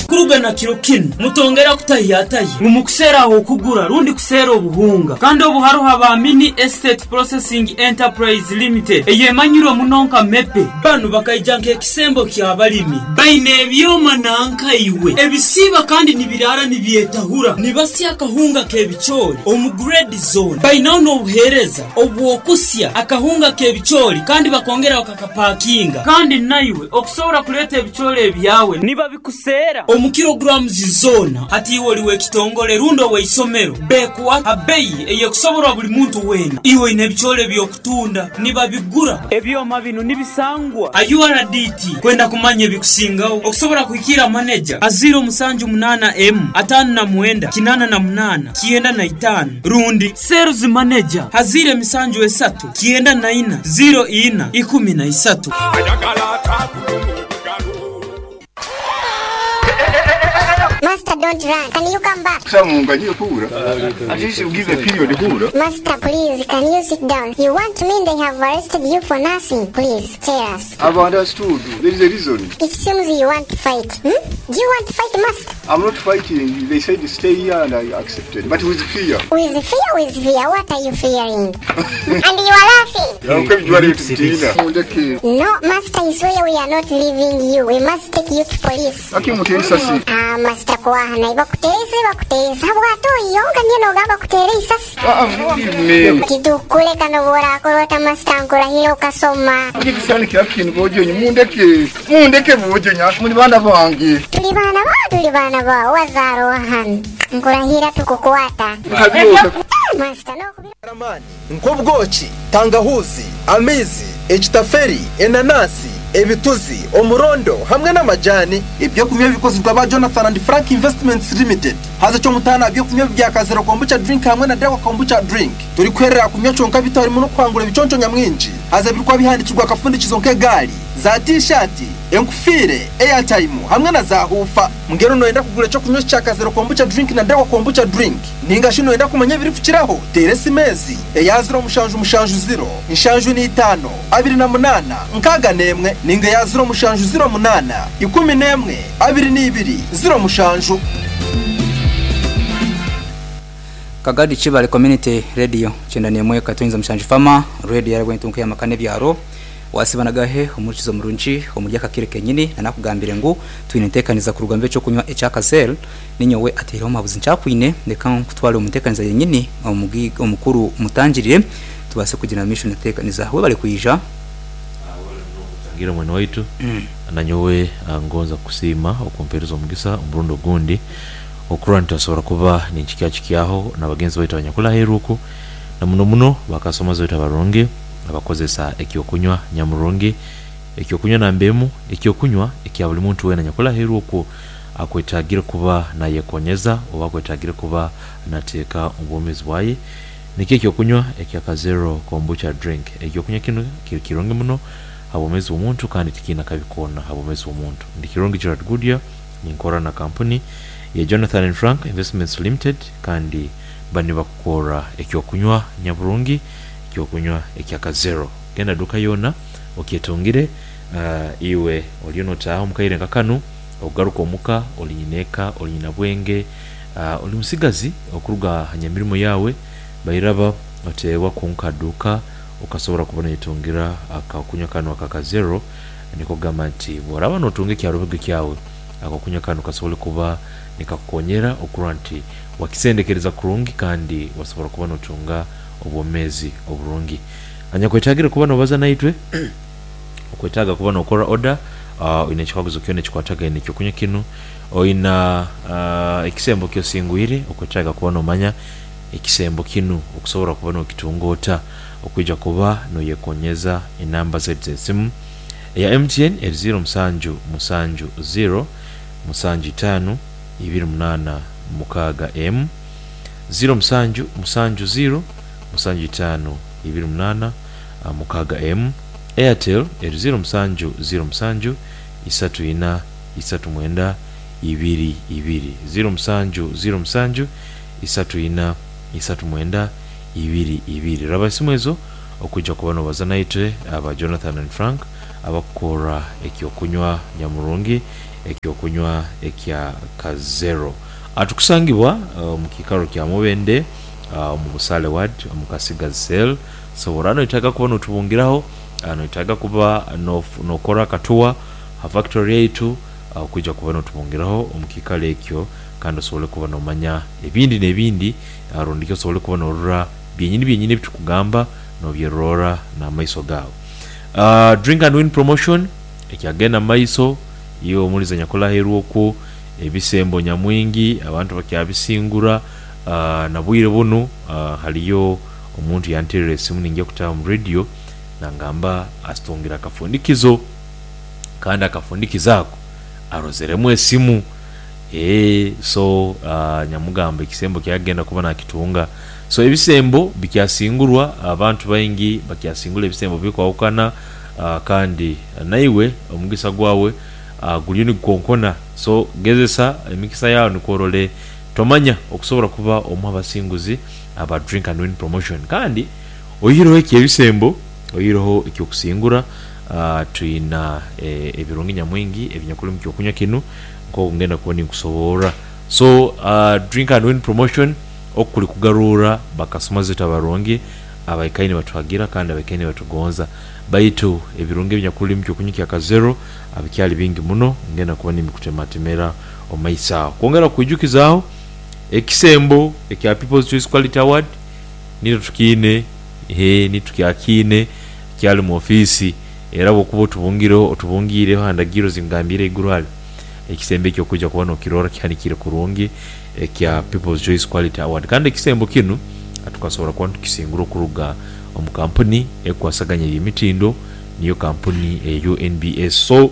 Kuruga na kiro kinu, mutongera kutahiyatahya ngu mukuseera ah'okugura rundi kuseera obuhunga. Kandi obu haroho aba Mini Estate Processing Enterprise Limited eyemanyirwe muno nka MEPE. Banu bakaija nk'ekisembo ky'abalimi. Baine ebyoma nanka iwe ebisiiba kandi nibiraara nibyetahura. Nibasya akahunga k'ebicoori omu grade zoona. Bainaho n'obuheereza obw'okusya akahunga k'ebicoori kandi bakongera bakakapakinga. Kandi naiwe okusobora kuleeta ebicoori ebyawe nibabikuseera omu kilograms zoona. Hati iwe oli w'ekitongole rundi ow'eisomero, bekuha ha beyi ey'ekusoborwa buli muntu weena. Iwe oine ebicoori eby'okutunda, nibabigura. Ebyoma binu nibisangwa ha URDT. Kwenda kumanya ebikusingaho, okusobora kuhikiira maneja ha ziiro musanju munaana emu ataano na mwenda kinaana na munaana kyenda na itaano rundi Sales Manager ha ziiro emisanju esatu kyenda na ina ziiro ina ikumi na isatu. Master don't run, can you come back? At least you give a period hura. Master please, can you sit down? You want me they have arrested you for nothing. Please, tell us. I've understood. There is a reason. It seems you want to fight. Hmm? Do you want to fight, master? I'm not fighting. They said stay here and I accepted. But with fear. With fear, with fear. What are you fearing? And you are laughing. No, master, I swear we are not leaving you. We must take you to police. Ah, master kuwahana bakuterese bakuteresa bwatoyonga niyo nogamba kutere isasi titukuleka noborakorota master nkurahira ukasoma. Mundeke bojonya muli bana bange. Tuli bana ba tuli bana ba wazaarwa hano nkurahira tukukwata. Master no. Nk'obwoki, tangahuzi, amaizi, ekitaferi, enanasi, ebituzi, omurondo hamwe n'amajani. Ebyokunywa bikozirwa ba Jonathan and Frank Investments Limited. Haza kyomutana ebyokunywa bya Kazero kombucha drink hamwe na Dawa kombucha drink. Turi kwerera kunywa kyonka bitarimu no kwangura ebiconco nyamwingi. Haza birikwa bihandikirwa akafundikizo nk'egali, za t-shirt, enkufire, airtime hamwe na za hufa. Mungero noyenda kugura ekyo kunywa kya Kazero kombucha drink na Dawa kombucha drink. Ninga shi noyenda kumanya ebiri kukiraho, tere simezi eya 0 mushanju mushanju 0 inshanju ni 5 28 6 ninga ya 0 mushanju 0 8 11 22 0 mushanju. Kagadi Chibale Community Radio chendani mwe katunza mushanju fama radio yaragwe ntunke yamakane byaro wasibanagahe umurikizo murungi omurya kakire kenyini nanakugambire ngu twine ntekaniza kurugambe cyo kunywa ecyakazel ninyowe atero mabuzi ncakwine ndeka kutwara umutekaniza yenyini omukuru mutangirire tubase kugira mission ntekaniza we bali kuija ngira mwana waitu nanyowe ngonza kusima okumpereza omugisa omurundo gundi okurwa ntasobora kuba ninchikya na bagenzi baitu abanyakula heruku na muno muno bakasoma zoita barungi abakozesa ekyokunywa nyamurungi ekyokunywa nambemu ekyokunywa ekya buli muntu wena nyakula heruku akwetagira kuba nayekonyeza oba akwetagira kuba nateka obwomezi bwaye. Nikyo ekyokunywa ekya Kazero kombucha drink. Ekyokunywa kino kirungi muno habomezi omuntu kandi tikina kabikona habomezi omuntu. Ndi Kirungi Gerard Goodyear ninkora na kampuni ya Jonathan and Frank Investments Limited kandi bani bakukora ekyokunywa nyaburungi ekyokunywa ekya Kazero. Genda duka yona okyetungire iwe oliyo notaho mukaire nkakanu ogaruka omuka olinyineka olinyina bwenge oli musigazi okuruga hanyamirimo yawe bairaba otewa kunka duka ukasobora kubona itungira akakunywa kano akakazero. Niko gamba nti bworaba notunge kyarubege kyawe akakunywa kano kasobole kuba nikakukonyera okurwa nti wakisendekereza kurungi kandi wasobora kuba notunga obwomeezi oburungi. Anyakwetagire kuba nobaza naitwe, okwetaaga kuba nokora oda, oine ekikaguzo kyona ekikwatagaine n'ekyokunywa kinu, oina ekisembo kyosingwire, okwetaaga kuba nomanya ekisembo kinu okusobora kuba nokitunga ota, okwija kuba noyekonyeza enamba zaitu z'esimu. Eya MTN eri ziiro musanju musanju ziiro musanju itaanu ibiri munaana mukaaga emu, ziiro musanju musanju ziiro musanju itaanu ibiri munaana mukaaga emu. Airtel eri ziiro musanju ziiro musanju isatu ina isatu mwenda ibiri ibiri, ziiro musanju ziiro musanju isatu ina isatu mwenda ibiri ibiri. Raba esimu ezo okwija kuba nobaza naitwe aba Jonathan and Frank abakukorra ekyokunywa nyamurungi, ekyokunywa ekya Kazero. Tukusangibwa omu kiikaro kya Mubende omu Busaale Ward omu Kasigazi Cell. Sobora noetaaga kuba notubungiraho, noetaaga kuba nokora akatuwa ha factory yaitu okwija kuba notubungiraho omu kiikaro ekyo kandi osobole kuba nomanya ebindi nebindi rundiki osobole kuba norora byenyini byenyini ebitukugamba nobyerora namaiso gaawe. Drink and Win Promotion ekyagenda mumaiso, iwe omulizi anyakuli aheeru okwo, ebisembo nyamwingi abantu bakyabisingura nabwire bunu haliyo omuntu yanterera esimu ningya kutaaha omu radio nangamba asitungire akafundikizo kandi akafundikizo ako arozeremu esimu eeh so nyamugamba ekisembo kyagenda kuba nakitunga. So ebisembo bikyasingurwa, abantu baingi bakyasingura ebisembo birikwahukana kandi naiwe omugisa gwawe guriyo nigukonkona. So gezesa emikisa yaawe nikwo orole tomanya okusobora kuba omu habasinguzi aba Drink and Win Promotion. Kandi oihireho eky'ebisembo, oihireho eky'okusingura, twina ebirungi nyamwingi ebinyakuli omu ky'okunywa kinu nk'oku ngenda kuba ninkusoborra. So Drink and Win Promotion oku kuli kugaruura bakasitoma zaitu abarungi abaikaire nibatuhagira kandi abaikaire nibatugonza. Baitu ebirungi ebinyakuli omu ky'okunywa kya Kazero bikyali bingi muno, ngenda kuba nimbikutematemera omu maiso aho. Kwongera kukwijukizaaho, ekisembo ekya People's Choice Quality Award nitwe tukiine, eeh nitwe tukyakiine, kyali mu ofiisi era bwokuba otubungireho, otubungiireho aha ndagirro zingambiire eiguru hare, ekisembo ekyo okwija kuba nokirora kihanikiire kurungi ekya People's Choice Quality Award. Kandi ekisembo kinu tukasobora kuba nitukisingura okuruga omu kampuni ekukwasaganya eby'emitindo niyo kampuni eya UNBS. So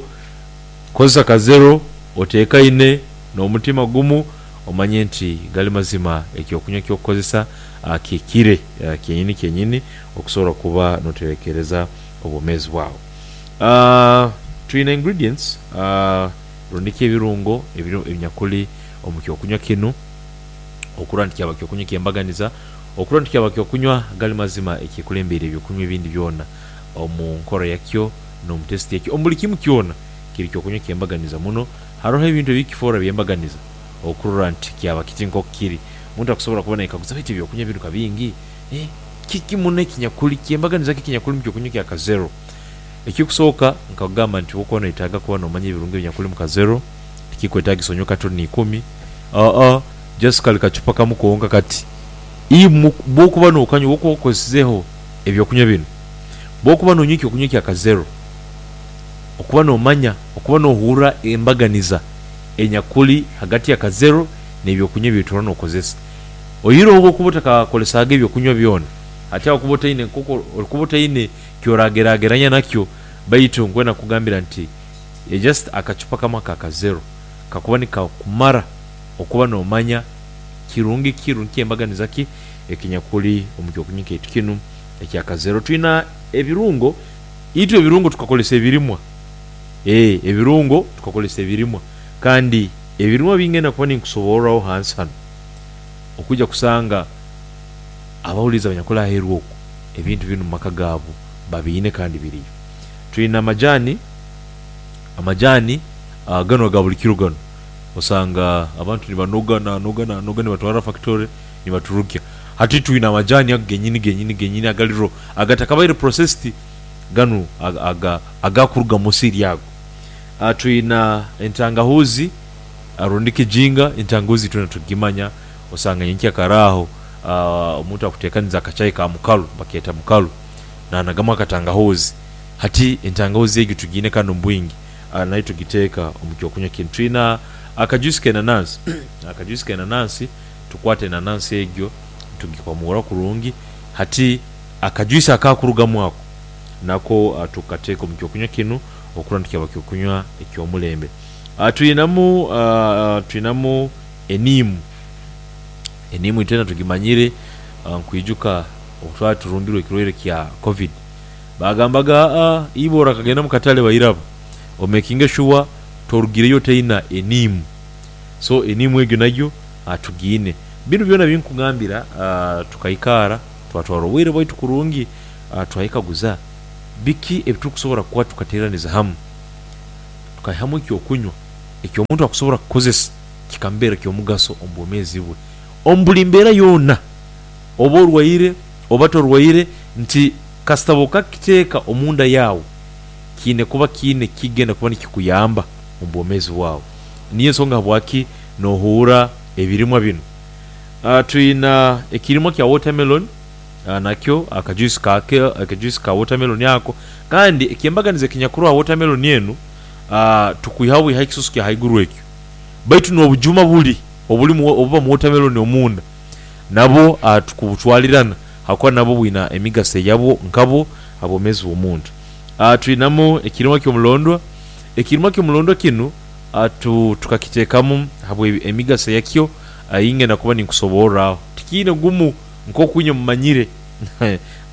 kozesa kazero oteekaine n'omutima gumu omanye nti gali mazima eky'okunywa ky'okukozesa kihikire kyenyini kyenyini okusobora kuba noterekereza obwomeezi bwawe. Twine ingredients rundi ki ebirungo ebinyakuli omu ky'okunywa kinu okurora nti kyaba ky'okunywa eky'embaganiza, okurora nti kyaba ky'okunywa gali mazima ekikulembeire eby'okunywa ebindi byona omu nkora yakyo n'omu test yakyo, omu buli kimu kyona kiri ky'okunywa eky'embaganiza muno. Haroho ebintu ebikifoora by'embaganiza okurora nti kyaba kiti nk'oku kiri. Omuntu akusobora kuba naikaguza, baitu eby'okunywa binu ka bingi, kiki muno ekinyakuli ky'embaganiza ki ekinyakuli omu ky'okunywa kya Kazero? Ekikusooka, nkakugamba nti bw'okuba noyetaaga kuba nomanya ebirungi ebinyakuli omu Kazero, tikikwetaagisa onywe katoni ikumi, aa, just kali kacupa kamu konka kati. Imwe bw'okuba nokanywa, bw'okuba okozesizeho eby'okunywa binu, bw'okuba nonywa eky'okunywa kya Kazero, okuba nomanya, okuba nohurra embaganiza enyakuli hagati ya Kazero n'ebyokunywa eby'otura nokozesa. Oihireho obw'okuba otakakozesaga eby'okunywa byona, hati aho okuba otaine nk'oku orikuba otaine ky'oragerageranya nakyo, baitu nkwenda kukugambira nti just akacupa kamu aka Kazero kakuba nikakumara okuba nomanya kirungi ki rundi ky'embaganiza ki ekinyakuli omu ky'okunywa kyaitu kinu ekya Kazero. Twina ebirungo, itwe ebirungo tukakozesa ebirimwa, ee ebirungo tukakozesa ebirimwa kandi ebirimwa ebingenda kuba ninkusoborraho hansi hanu okwija kusanga abahuliiriza abanyakuli aheeru oku ebintu binu mu maka gaabu babiine kandi biriyo. Twine amajani, amajani ganu aga buli kiro ganu osanga abantu nibanoga nanoga nanoga nibatwara fakitore nibaturukya. Hati twine amajani ago genyini genyini genyini agali raw agatakabaire processed ganu agakuruga musiri ago. Twina entangahuzi rundi kijinga, entangahuzi itwena tugimanya osanga nyenkya kare aho. Omuntu akuteekaniza akachai ka mukalu, bakeeta mukalu, naanagamu akatangahoozi. Hati entangawuzi egyo tugiine kanu omu bwingi, nayo tugiteeka omu ky'okunywa kinu. Twina akajuice k'enanansi. Akajuice k'enanansi, tukwata enanansi egyo tugikwamura kurungi, hati akajuice akaakurugamu ako nako tukateeka omu ky'okunywa kinu okurora nti kyaba ky'okunywa eky'omulembe. Twinamu twinamu eniimu. Eniimu itwena tugimanyire, nkwijuka obu twali turumbirwe ekirwaire kya Covid, Baagambaga, Aa, iwe orakagenda mu katale bairaba, omekinge shuwa torugireyo otaina eniimu. So eniimu egyo nayo tugiine. Binu byona binkugambira tukaikaara twatwara obwire bwaitu kurungi twayekaguza biki ebiturukusobora kuba tukateeraniza hamu tukaihamu eky'okunywa eky'omuntu akusobora kukozesa kikamubeera ky'omugaso omu bwomeezi bwe omu buli mbeera yoona oba orwaire oba torwaire nti Kasita bw'okakiteeka omunda yaawe, kiine kuba kiine ekigenda kuba nikikuyamba omu bwomeezi bwawe. Niyo ensonga habwaki nohuura ebirimwa binu. Twina ekirimwa kya watermelon, nakyo akajuice kakyo, akajuice ka watermelon ako. Kandi eky'embaganiza ekinyakuroho ha watermelon enu, tukwihaho bwihaho ekisusu kya haiguru ekyo. Baitu n'obujuma buli obulimu obuba mu watermelon omunda, nabwo tukubutwalirana. Ahakuba nabwo bwina emigaso eyabwo nkabwo ha bwomeezi bw'omuntu. Twinamu ekirimwa ky'omulondwa. Ekirimwa ky'omulondwa kinu tukakiteekamu habw'emigaso yakyo ei ngenda kuba ninkusoborraho. Tikiine gumu nk'oku inywe mumanyire,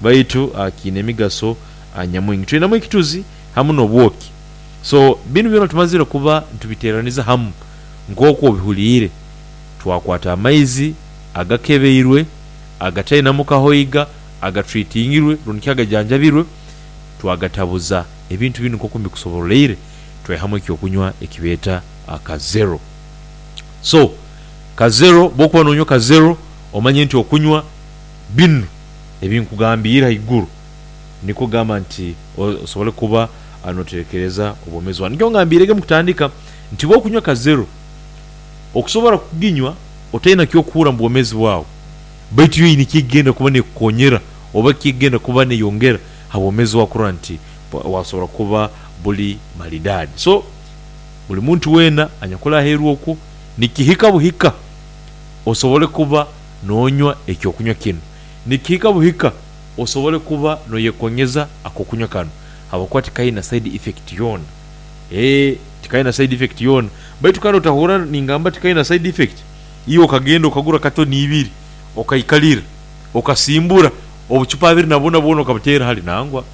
baitu kiine emigaso nyamwingi. Twinamu ekituzi hamu n'obwoki. So binu byona tumazire kuba nitubiteeraniza hamu nk'oku obihuliire, twakwata amaizi agakebeirwe, agatainamu kahoiga, agatreatingirwe rundi ki agajanjabirwe, twagatabuza ebintu binu nk'oku mbikusoboroleire, twaihamu eky'okunywa ekibeeta ka zero. So, ka zero, bw'okuba noonywa ka zero, omanye nti okunywa binu ebi nkugambiire haiguru, nikwo kugamba nti osobole kuba noterekereza obwomeezi bwawe. Nikyo ngambiirege omu kutandika nti bw'okunywa ka zero, okusobora kuginywa otaina ky'okuhurra mu bwomeezi bwawe, baitu yo eine ky'egenda kuba n'ekukonyera oba ky'egenda kuba n'eyongera ha bwomeezi bwawe kurora nti wasobora kuba buli malidaadi. So, buli muntu weena anyakuli aheeru okwo, nikihika buhika osobole kuba noonywa eky'okunywa kinu. Nikihika buhika osobole kuba noyekonyeza ak'okunywa kanu habwokuba tikaina side effect yoona. Eeh, tikaina side effect yoona. Baitu kandi otahurra ningamba tikaina side effect, iwe okagenda okagura katoni ibiri okaikalira, okasimbura obucupa abiri na buna bwona okabuteera hali. Nangwa.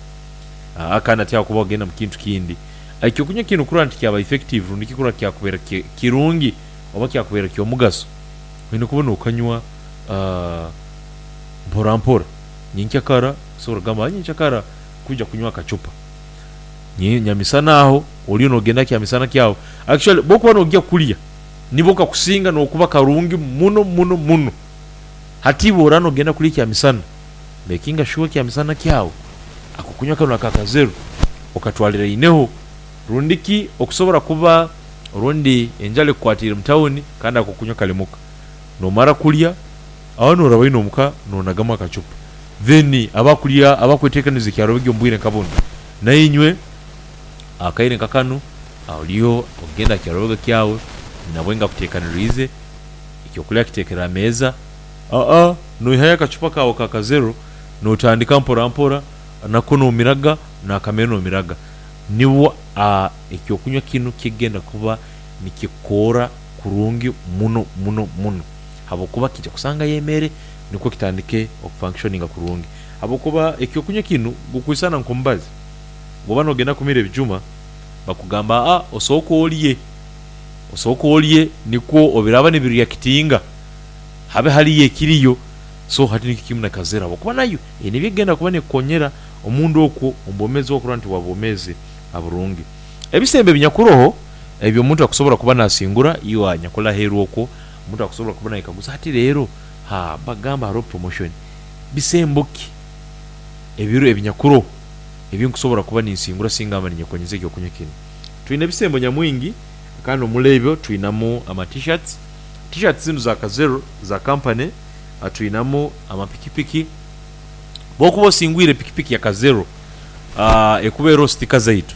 Aa, kandi hati aho kuba wagenda mu kintu kindi. Eky'okunywa kinu kurora nti kyaba effective rundi ki kurora kyakubeera kirungi oba kyakubeera ky'omugaso, oine kuba n'okanywa mpora mpora. Nyenkyakara, osobola kugamba nyenkyakara kwija kunywa akacupa. Nyamisana aho oriyo nogenda kyamisana kyawe. Actually bwokuba nogya kulya nibwo kakusinga nokuba karungi muno muno muno. Hati bworaba nogenda kulya ekyamisana, makinga sure ekyamisana kyawe akokunywa kanu aka kazeru okatwariraineho. Rundi ki okusobora kuba orundi enjara ekukwatiire mu tawuni kandi akokunywa kari muka. Nomara kulya aho noraba oine omuka nonagamu akacupa. Then abakulya abakwetekaniza ekyarobegi omu bwire nka bunu nainywe akaire nka kanu oriyo ogenda aha kyarobega kyawe nabwe nga akutekaniriize ekyokulya akitekere aha meeza aa noihayo akacupa kaawe ka kazero notandika mpora mpora nako nomiraga nakamere nomiraga nibwo ekyokunywa kinu kigenda kuba nikikukora kurungi muno muno muno habwokuba kija kusangayo emere nikwo kitandike okufunctioninga kurungi habwokuba ekyokunywa kinu gukwisana nkomubazi bwoba nogenda kumira ebijuma bakugamba aa osooke orye, osooke orye nikwo obiraba nibireactinga habe hariyo ekiriyo so hati nikyo kimu na kazera habwokuba nayo eine ebyekugenda kuba nekukonyera omunda okwo omu bwomezi bwawe kurora nti bwaba bwomezi burungi. Ebisembo ebinyakuroho ebi omuntu akusobora kuba nasingura iwe anyakuli aheeru okwo omuntu akusobora kuba nayekaguza hati reero haa bagamba haroho promotion bisembo ki ebiro ebinyakuroho ebi nkusobora kuba ninsingura singa mba ninyekonyeza eky'okunywa kinu? Twine ebisembo nyamwingi kandi omuri ebyo twinamu ama T-shirts. T-shirts zinu za Kazero za company. Twinamu amapikipiki. Bwokuba osingwire pikipiki ya Kazero, ekuba eroho sitika zaitu.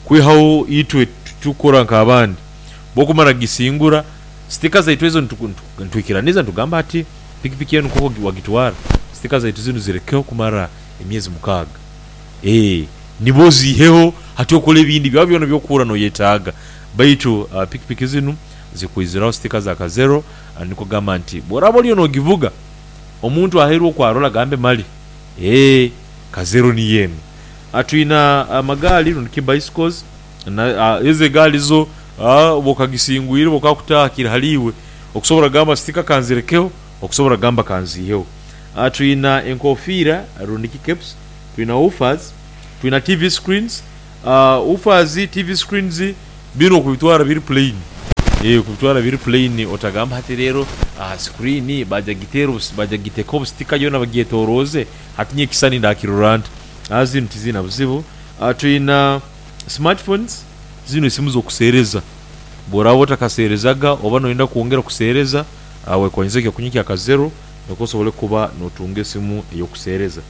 Kwihaho itwe titukukora nk'abandi. Bwokumara kugisingura, sitika zaitu ezo nitwikiraniza nitugamba hati pikipiki enu nk'oku wagitwara, sitika zaitu zinu zirekeho kumara emyezi mukaaga. Eeh, nibo oziiheho hati okole ebindi byawe byona eby'okuhurra noyetaaga. Baitu pikipiki zinu zikwiziraho sitika za Kazero, nikwo kugamba nti bworaaba oriyo nogivuga, omuntu aheeru oku arole agambe mali eeh Kazero niyo enu. Twina amagaali rundi ki bicycles, ezo egaali zo oba okagisingwire oba okakutaaha kiri hali iwe okusobora kugamba sitika kanzirekeho okusobora kugamba kanziiheho. Twina enkofiira rundi ki caps, twina woofers, twina TV screens, woofers, TV screens binu okubitwara biri plain, okubitwara biri plain otagamba hati reero screen baija kugiteera baija kugiteekaho obusitika yoona bagyetoroze hati nyowe ekisani ndakirora nta? Zinu tiziina buzibu. Twina smartphones, zinu esimu z'okuseereza. Bw'oraaba otakaseerezaga oba noyenda kwongera kuseereza, wekonyeze ekyokunywa kya Kazero nikwo osobole kuba notunga esimu ey'okuseereza.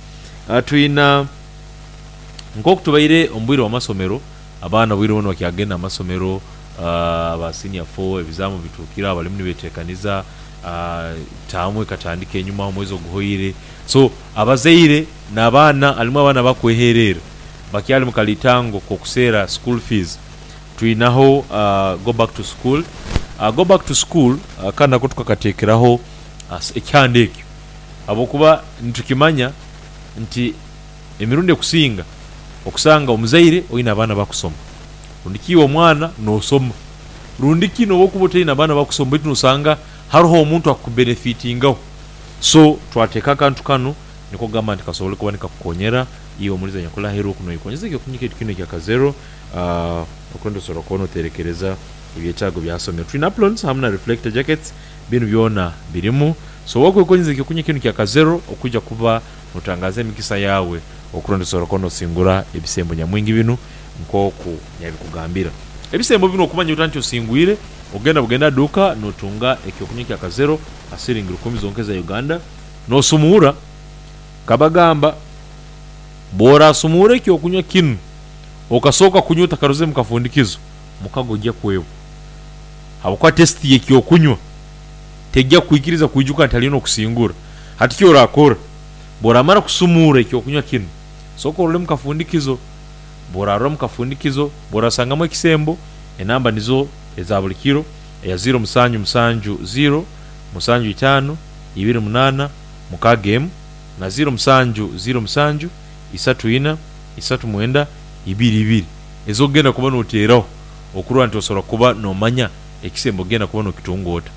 Twina nk'oku tubaire omu bwire bw'amasomero, abaana obwire bunu bakyagenda omu masomero, aba senior four ebizaamu bituukire aho barimu nibeteekaniza, taamu ekatandika enyuma aho omwezi oguhoire. So abazaire n'abaana harimu abaana abakwehereera bakyari mu kalitango k'okuseera school fees. Twinaho go back to school, go back to school kanu nako tukakateekeraho ekyanda ekyo habwokuba nitukimanya nti emirundi ekusinga okusanga omuzaire oine abaana bakusoma rundi ki iwe omwana nosoma rundi ki nobu okuba otaine abaana bakusoma baitu nosanga haroho omuntu akubenefitingaho so twateeka akantu kanu nikwo kugamba nti kasobole kuba nikakukonyera iwe omulizi anyakuli aheeru oku noyekonyeza ekyokunywa kyaitu kinu ekya Kazero okwenda osobora kuba noterekereza ebyetaago bya ha somero. Twine aprons hamu na reflector jackets binu byona birimu. So wakwekonyeza ekyokunywa kinu kya Kazero okwija kuba notangaza emikisa yaawe okurora nti osobora kuba nosingura ebisembo nyamwingi binu nkoku nyabikugambira. Ebisembo binu okumanya ota nti osingwire, ogenda bugenda aha duuka notunga ekyokunywa kya Kazero ha siringi rukumi zonka eza Uganda nosumuura. Nkabagamba bworasumuura ekyokunywa kinu okasooka kunywa otakarozire mukafundikizo, mukago oija kwebwa habwokuba test yekyokunywa teija kukwikiriza kwijuka nti haliyo nokusingura. Hati kyorakora, bworamara kusumuura ekyokunywa kinu, sooka orole mukafundikizo. Bworarora mukafundikizo, bworasangamu ekisembo, enamba nizo eza buli kiro, eya ziiro musanju musanju ziiro, musanju itaano, ibiri munaana, mukaaga emu, na ziiro musanju ziiro musanju, isatu ina, isatu mwenda, ibiri ibiri ez'okugenda kuba noteeraho okurora nti osobora kuba nomanya ekisembo ogenda kuba nokitunga ota.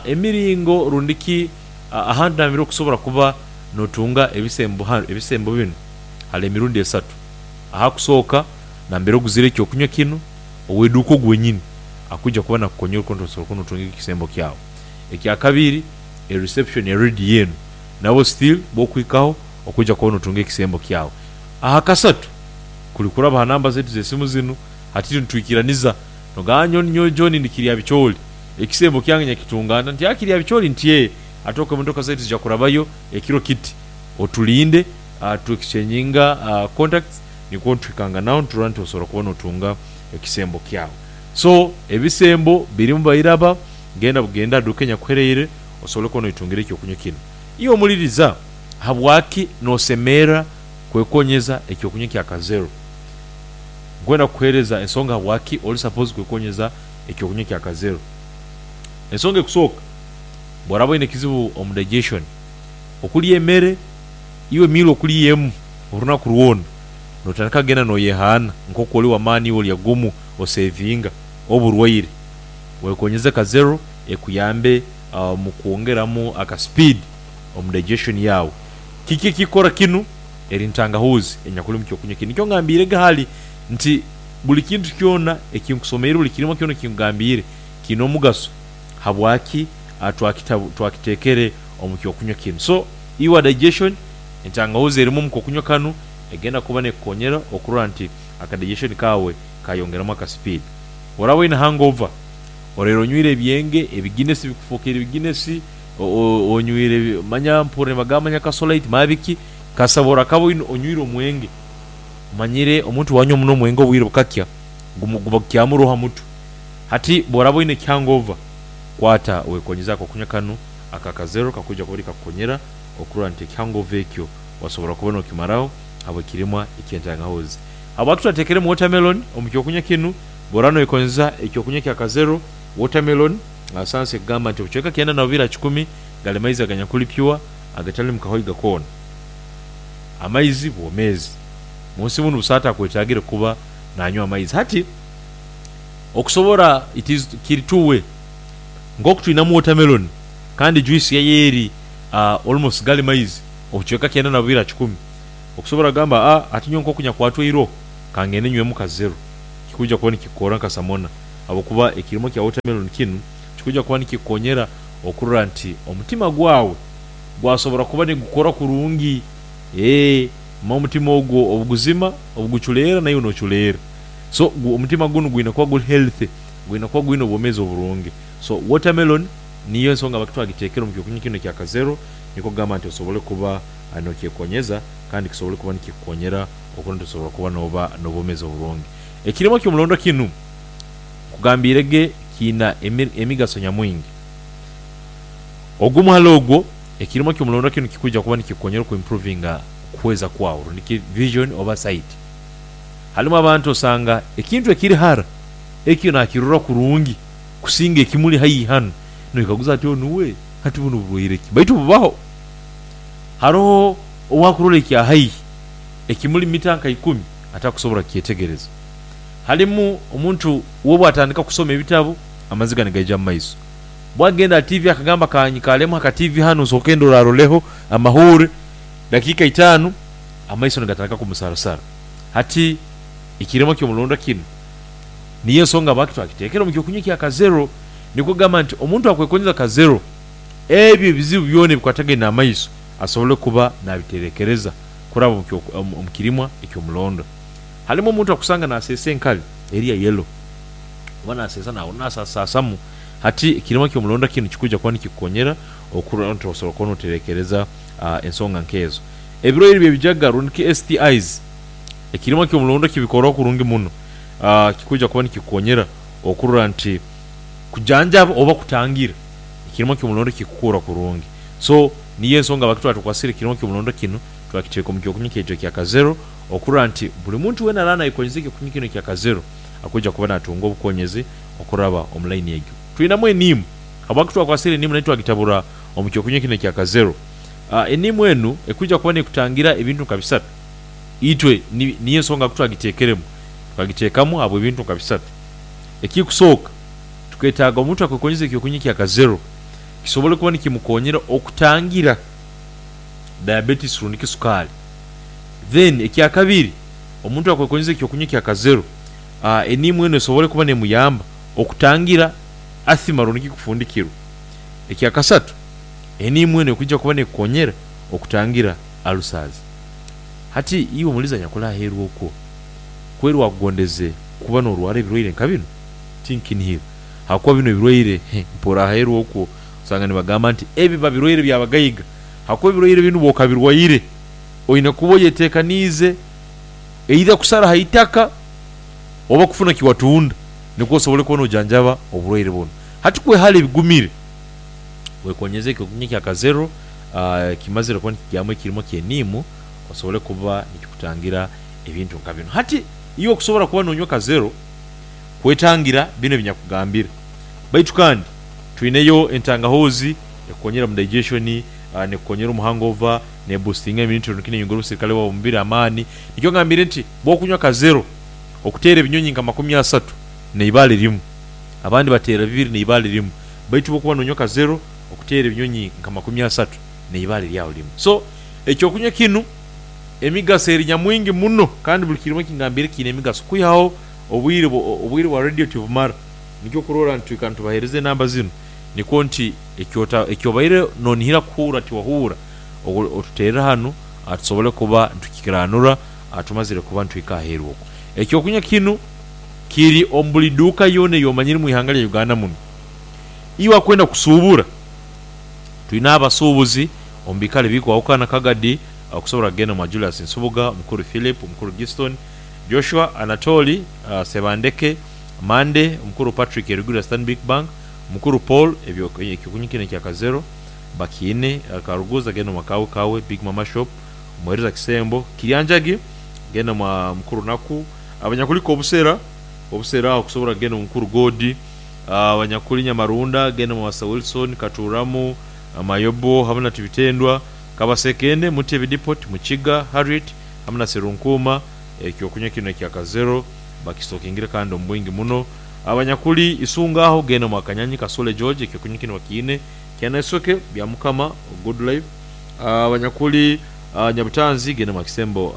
Emiringo rundi ki ahantu nambere okusobora kuba notunga ebisembo ebisembo binu hali emirundi esatu. Ahakusooka nambere oguzire ekyokunywa kinu ow'eduuka ogu wenyini akwija kuba nakukonyera okurora nti osobola kuba notunga ekisembo kyawe. Ekyakabiri e reception ya rediyo enu nabo still bokuhikaho okwija kuba notunga ekisembo kyawe. Ahakasatu, kuli kuraba ha namba zaitu z'esimu zinu, hati nitwikiraniza nogamba nyowe nyowe John ndi Kiryabichooli, ekisembo kyange nyakitunga nta? Nti aa Kiryabichooli nti ee, ati ok emotoka zaitu zija kurabayo ekiro kiti, otulinde tu exchanginga contacts nikwo nituhikanganaho niturora nti osobora kuba notunga ekisembo kyawe. So ebisembo birimu bairaba, genda bugende aha duuka enyakuhereire osobole kuba noitungira ekyokunywa kinu. Iwe omuliriza, habwaki nosemerra kwekonyeza ekyokunywa kya Kazero? Nkwenda kukuhereza ensonga habwaki ori supposed kwekonyeza ekyokunywa kya Kazero. Ensonga ekusooka, bworaba oine ekizibu omu digestion, okulya emere, iwe meal okulya emu orunaku rwona, notandika kugenda noyehaana nkoku ori wamaani iwe olya gumu osevinga oburwaire. Wekonyeze Kazero ekuyambe omu kwongeramu aka speed omu digestion yaawe. Kiki ekikora kinu? Eri ntangahuuzi enyakuli omu kyokunywa kinu. Nikyo ngambiirege hali nti buli kintu kyona ekinkusomeire, buli kirimwa kyona ekinkugambiire kiine omugaso habwaki twakiteekere omu kyokunywa kinu. So iwe digestion, entangahuuzi erimu omu kokunywa kanu egenda kuba nekukonyera okurora nti aka digestion kaawe kayongeramu aka speed. Oraaba oine hangover, oraire onywire ebyenge, ebiginesi bikufokeire ebiginesi, Onywire manya mpurra nibagamba manya kasolite manya biki, kasabora kaba onywire omwenge. Omanyire omuntu bwanywa muno omwenge obwire bukakya guba gukyamuroho ha mutwe. Hati bworaba oine hangover, kwata wekonyeze akokunywa kanu aka Kazero kakwija kuba nikakukonyera okurora nti ekihangover ekyo wasobora kuba nokimaraho habw'ekirimwa eky'entangahuzi. Habwaki twatekeremu watermelon omu kyokunywa kinu? Bworaba noyekozesa ekyokunywa kya Kazero watermelon, sayansi ekugamba nti obucweka 92 ha kikumi gali maizi aganyakuli pure agatalimu kahoiga koona. Amaizi bwomeezi. Munsi munu busaho atakwetagire kuba nanywa amaizi. Hati okusobora it is kiri two way. Nkoku twinamu watermelon kandi juice yayo eri almost gali maizi obucweka 92 ha kikumi. Okusobora kugamba a hati nyowe nkoku nyakwatwa eiroho kangende nywemu ka zero kikwija kuba nikikukora nka samona habwokuba ekirimo kya watermelon kinu kikwija kuba nikikukonyera okurora nti omutima gwawe gwasobora kuba nigukora kurungi eeh manya omutima ogwo obuguzima obuguculeera naiwe noculeera so omutima gunu gwine kuba guri healthy gwine kuba gwine obwomezi oburungi so watermelon niyo ensonga habwaki twagitekere omu kyokunywa kinu ekya kazero nikwo kugamba nti osobole kuba nokyekonyeza kandi kisobole kuba nikikukonyera okurora nti osobora kuba noba nobwomezi oburungi. Ekirimo kyomulondo kinu nkugambiire ge kiina emigaso nyamwingi. Ogumu hali ogwo, ekirimo kyomulondo kinu kikwija kuba nikikukonyera oku improvinga kuhweza kwawe rundi ki vision oba sight. Halimu abantu osanga ekintu ekiri hara ekyo nakirora kurungi kusinga ekimuli haihi hanu noyekaguza hati onu we hati bunu burwaire ki? Baitu bubaho. Haroho owakurora ekya haihi ekimuli mita nka ikumi atakusobora kukyetegereza. Halimu omuntu we bwatandika kusoma ebitabu amaziga nigaija mu maiso. Bwagenda aha tiivi akagamba kanyikalemu aha katiivi hanu nsooke ndoraroleho amahuure dakiika itaanu amaiso nigatandika kumusarasara. Hati ekirema ky'omulondo kinu niyo ensonga habwaki twakiteekere omu kyokunywa ekya Kazero nikwo kugamba nti omuntu akwekonyeza Kazero ebyo ebizibu byona ebikwatagaine n'amaiso asobole kuba nabiterekereza kuraba omu kirimwa eky'omulondo. Halimu omuntu akusanga naseesa enkali eri ya yellow oba naseesa nahurra nasasaasamu. Hati ekirimwa ky'omulondo kinu kikwija kuba nikikukonyera okurora nti osobola kuba noterekereza ensonga nk'ezo. Ebirwaire by'ebijaga rundi ki STIs, ekirimwa ky'omulondo kibikoraho kurungi muno. Kikwija kuba nikikukonyera okurora nti kujanjaba oba kutangira ekirimwa ky'omulondo kikukura kurungi. So niyo ensonga habwaki twatukwasire ekirimwa ky'omulondo kinu twakiteeka omu kyokunywa kyaitu ekya Kazero okurora nti buli muntu weena araaba nayekonyeza ekyokunywa kinu ekya Kazero akwija kuba natunga obukonyezi okuraba omu layini egyo. Twinamu eniimu. Habwaki twakwasire eniimu nayo twagitabura omu kyokunywa kinu ekya Kazero? Eniimu enu ekwija kuba nekutangira ebintu nka bisatu. Itwe niyo ensonga habwaki twagiteekeremu. Twagiteekamu habw'ebintu nka bisatu. Ekikusooka, tuketaaga omuntu akwekonyeza ekyokunywa ekya Kazero kisobole kuba nikimukonyera okutangira diabetes rundi ki sukaali. Then ekyakabiri, omuntu akwekonyeza ekyokunywa ekya Kazero, eniimu enu esobole kuba nemuyamba okutangira asthma rundi ki kufundikirwa. Ekyakasatu, eniimu enu ekwija kuba nekukonyera okutangira ulcers. Hati iwe omulizi anyakuli aheeru okwo, kweri wakugondeze kuba norwara ebirwaire nka binu? Tinkinihira. Hakuba binu ebirwaire, mpura aheeru okwo osanga nibagamba nti ebi biba birwaire bya bagaiga. Hakuba ebirwaire binu bwokabirwaire, oine kuba oyetekaniize either kusara ha itaka oba kufuna kiwatunda nikwo osobole kuba nojanjaba oburwaire bunu. Hati kwehara ebigumire, wekonyeze ekyokunywa ekya Kazero kimazire kuba nikigyamu ekirimo ky'eniimu osobole kuba nikikutangira ebintu nka binu. Hati iwe kusobora kuba nonywa Kazero kwetangira binu ebinyakugambire. Baitu kandi twineyo entangahuzi ekukonyera omu digestion, nekukonyera omu hangover, ne boostinga immunity rundi ki neyongera obusirikale bwawe omu mubiri amaani. Nikyo ngambire nti bwokunywa Kazero okuteera ebinyonyi nka 30 neibaale rimu. Abandi bateera bibiri neibaale rimu. Baitu bwokuba nonywa Kazero okuteera ebinyonyi nka 30 neibaale ryawe rimu. So ekyokunywa kinu emigaso eri nyamwingi muno kandi buli kirimo ekingambire kiine emigaso kwihaho obwire obwire bwa radio tibumara. Nikyo okurora nti twikara nitubahereza enamba zinu nikwo nti ekyobaire nonihira kuhuura tiwahuura otuterre hanu tusobole kuba nitukikiranura tumazire kuba nituhika aheeru okwo. Ekyokunywa kinu kiri omu buli duuka yoona eyomanyire omu ihanga lya Uganda munu. Iwe akwenda kusuubura, Twine abasuubuzi omu biikaro ebikwahukana Kagadi okusobora kugenda omwa Julius Nsubuga, Omukuru Philip, Omukuru Giston, Joshua, Anatoli, Sebandeke, Mande, Omukuru Patrick eriguru ya Stanbic Bank, Omukuru Paul, ekyokunywa kinu ekya Kazero bakiine, Karuguza genda omwa Kawe Kawe, Big Mama Shop, Omuhereza Kisembo, Kiryanjagi genda omwa Mukuru Naku, Abanyakulika obusera, obusera aho okusobora kugenda omu Mukuru Godi, Abanyakuli Nyamarunda genda omwa Sir Wilson, Katuramu, Mayobo hamu na Tibitendwa, Kabasekende, Mutebi Depot, Mukiga, Harriet hamu na Serunkuuma, ekyokunywa kinu ekya Kazero bakisitokingire kandi omu bwingi muno. Abanyakuli Isunga aho genda omwa Kanyanyi Kasule George ekyokunywa kinu bakiine. Kyanesoke, Byamukama, Goodlife. Abanyakuli Nyabutanzi genda omwa Kisembo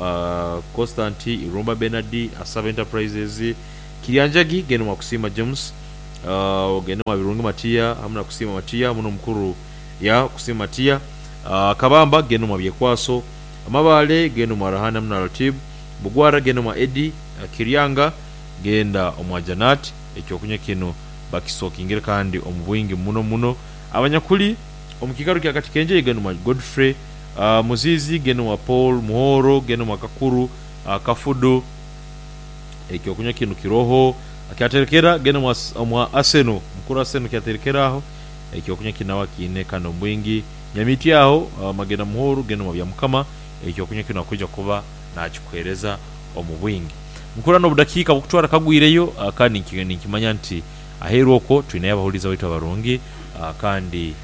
Constant, Irumba Bernard, Asaba Enterprises. Kiryanjagi genda omwa Kusiima James, ogende omwa Birungi Matia hamu na Kusiima Matia hamu n'omukuru ya Kusiima Matia. Kabamba genda omwa Byekwaso. Amabaale genda omwa Rahani hamu na Ratib. Bugwara genda omwa Eddie. Kiryanga genda omwa Janat. Ekyokunywa kinu bakisitokingire kandi omu bwingi muno muno. Abanyakuli omu kiikaro kya Katikenje genda omwa Godfrey. Muzizi genda omwa Paul Muhoro, genda omwa Kakuru Kafudu. Ekyokunywa kinu kiroho. Kyaterekera genda omwa Arsenal. Mukuru Arsenal kyaterekera aho. Ekyokunywa kinu nawe akiine kandi omu bwingi. Nyamiti aho Magena Muhoro genda omwa Byamukama. Ekyokunywa kinu akwija kuba nakikuhereza omu bwingi. Nkura n'obudakiika bukutwara kagwireyo kandi ninkimanya nti aheeru okwo twinayo abahuliiriza baitu abarungi kandi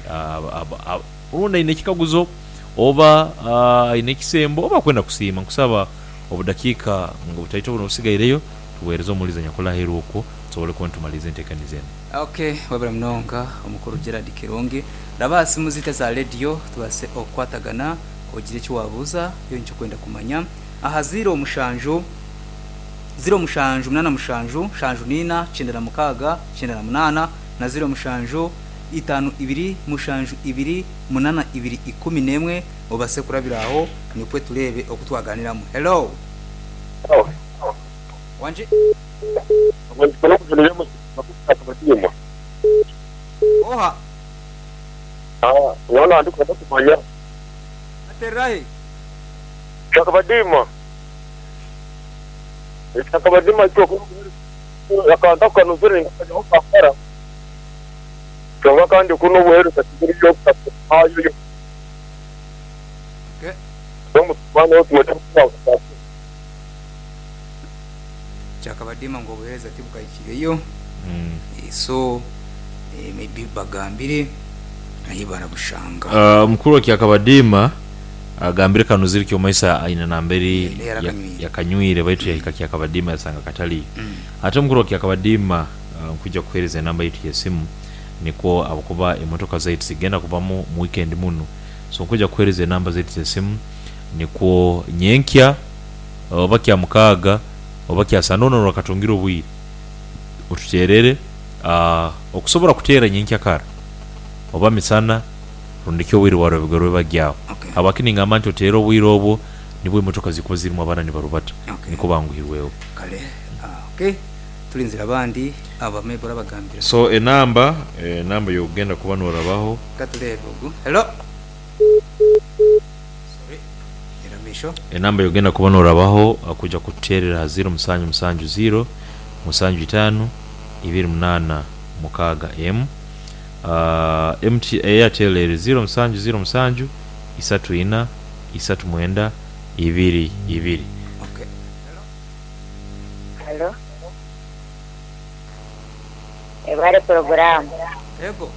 rundi aine ekikaguzo oba aine ekisembo oba akwenda kusiima. Nkusaba obudakiika butaito buno obusigaireyo tuweereze omuhuliiriza anyakuli aheeru okwo tusobole kuba nitumaliiriza enteekaniza enu. Ok webale munonga omukuru Gerald Kirungi. Raba aha simu zaitu eza rediyo tubaase okukwatagana ogire eki wabuuza yoona eki orikwenda kumanya aha ziiro mushanju, ziiro mushanju munaana mushanju, nshanju na ina, kyenda na mukaaga, kyenda na munaana na ziiro mushanju, itaano ibiri, mushanju ibiri, munaana ibiri ikumi n'emwe obaase kurabira aho nikwo tureebe oku twaganiramu. Hello. Wangi. Oha? Aterera hi? Okay. Kyakabadiima ngu obuheereza tibukahikireyo so maybe bagambire ahi barabushanga. Omukuru wa Kyakabadiima agambire Kanuzire Kyomaiso aine namberi yakanywire baitu yahika Kyakabadiima yasanga kataliyo. Ate omukuru wa Kyakabadiima nkwija kukuhereza enamba yaitu y'esimu nikwo ahabwokuba emotoka zaitu zigenda kubamu mu weekend munu so nkwija kukuhereza enamba zaitu z'esimu nikwo nyenkya oba Kyamukaaga oba Kyasande hoona norakatungire obwire otuteerere okusobora kuteera nyenkya kara oba misana rundi ki obwire bwa rwebagyo rwebagyo aho. Habwaki ningamba nti oteere obwire obwo nibwo emotoka zirikuba zirimu abaana nibarubata nikwo banguhirweho. Kale ok turinzire abandi aba maybe orabagambira. So enamba enamba yokugenda kuba norabaho. Katureebe ogu. Hello. Sorry. Era maisho. Enamba yokugenda kuba norabaho kuja kututerera aha ziiro musanju musanju ziiro musanju itaanu ibiri munaana mukaaga emu. MT Airtel eri ziiro musanju ziiro musanju isatu ina isatu mwenda ibiri ibiri. Okay. Halo. Ebare puroguramu. Ego.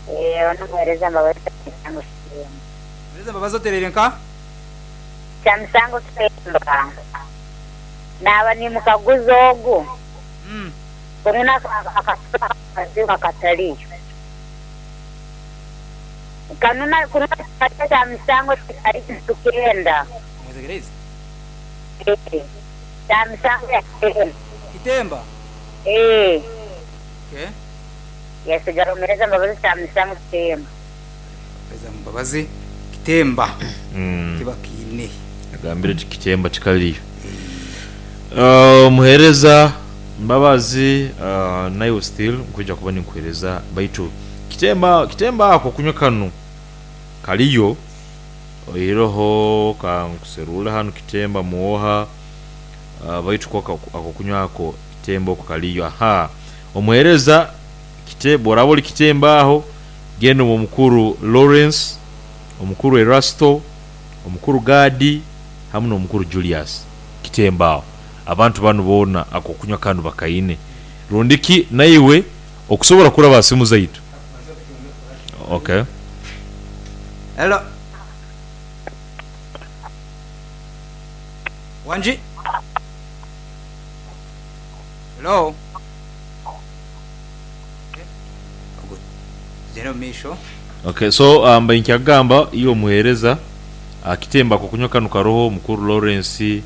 Eeh ono muhereza Mbabazi Kyamusango Kitemba. Muhereza Mbabazi otereire nka? Kyamusango Kitemba. Naaba nimukaguza ogu. Kunu akasolo akazibu akataliyo. Kanu kunu ekikaju kya misango tikali nitukenda. Mwetegereize? Eeh, kya misango ya kitemba. Kitemba? Eeh. Okay. Yasigara omuhereza Mbabazi kya misango kitemba. Omuhereza Mbabazi kitemba tibakiine. Agambire ati kitemba tikaliyo. Omuhereza Mbabazi naiwe still nkwija kuba ninkuhereza baitu Kitemba kitemba ako kunywa kanu kaliyo oiroho kankuserule hanu kitemba muoha baitu ko ako kunywa ako kitemba oko kaliyo. Aha, omuhereza boraba oli kitemba aho, genda omu omukuru Lawrence, omukuru Erasto, omukuru Gadi hamu n'omukuru Julius kitemba aho. Abantu banu boona ako kunywa kanu bakaine. Rundiki naiwe okusobola kuraba simu zaitu. Okay. Hello. Wangi. Hello. Tugende omu maisho. Okay, so mbaire nkyakugamba iwe omuheereza, kitemba akokunywa kanu karoho omukuru Lawrence,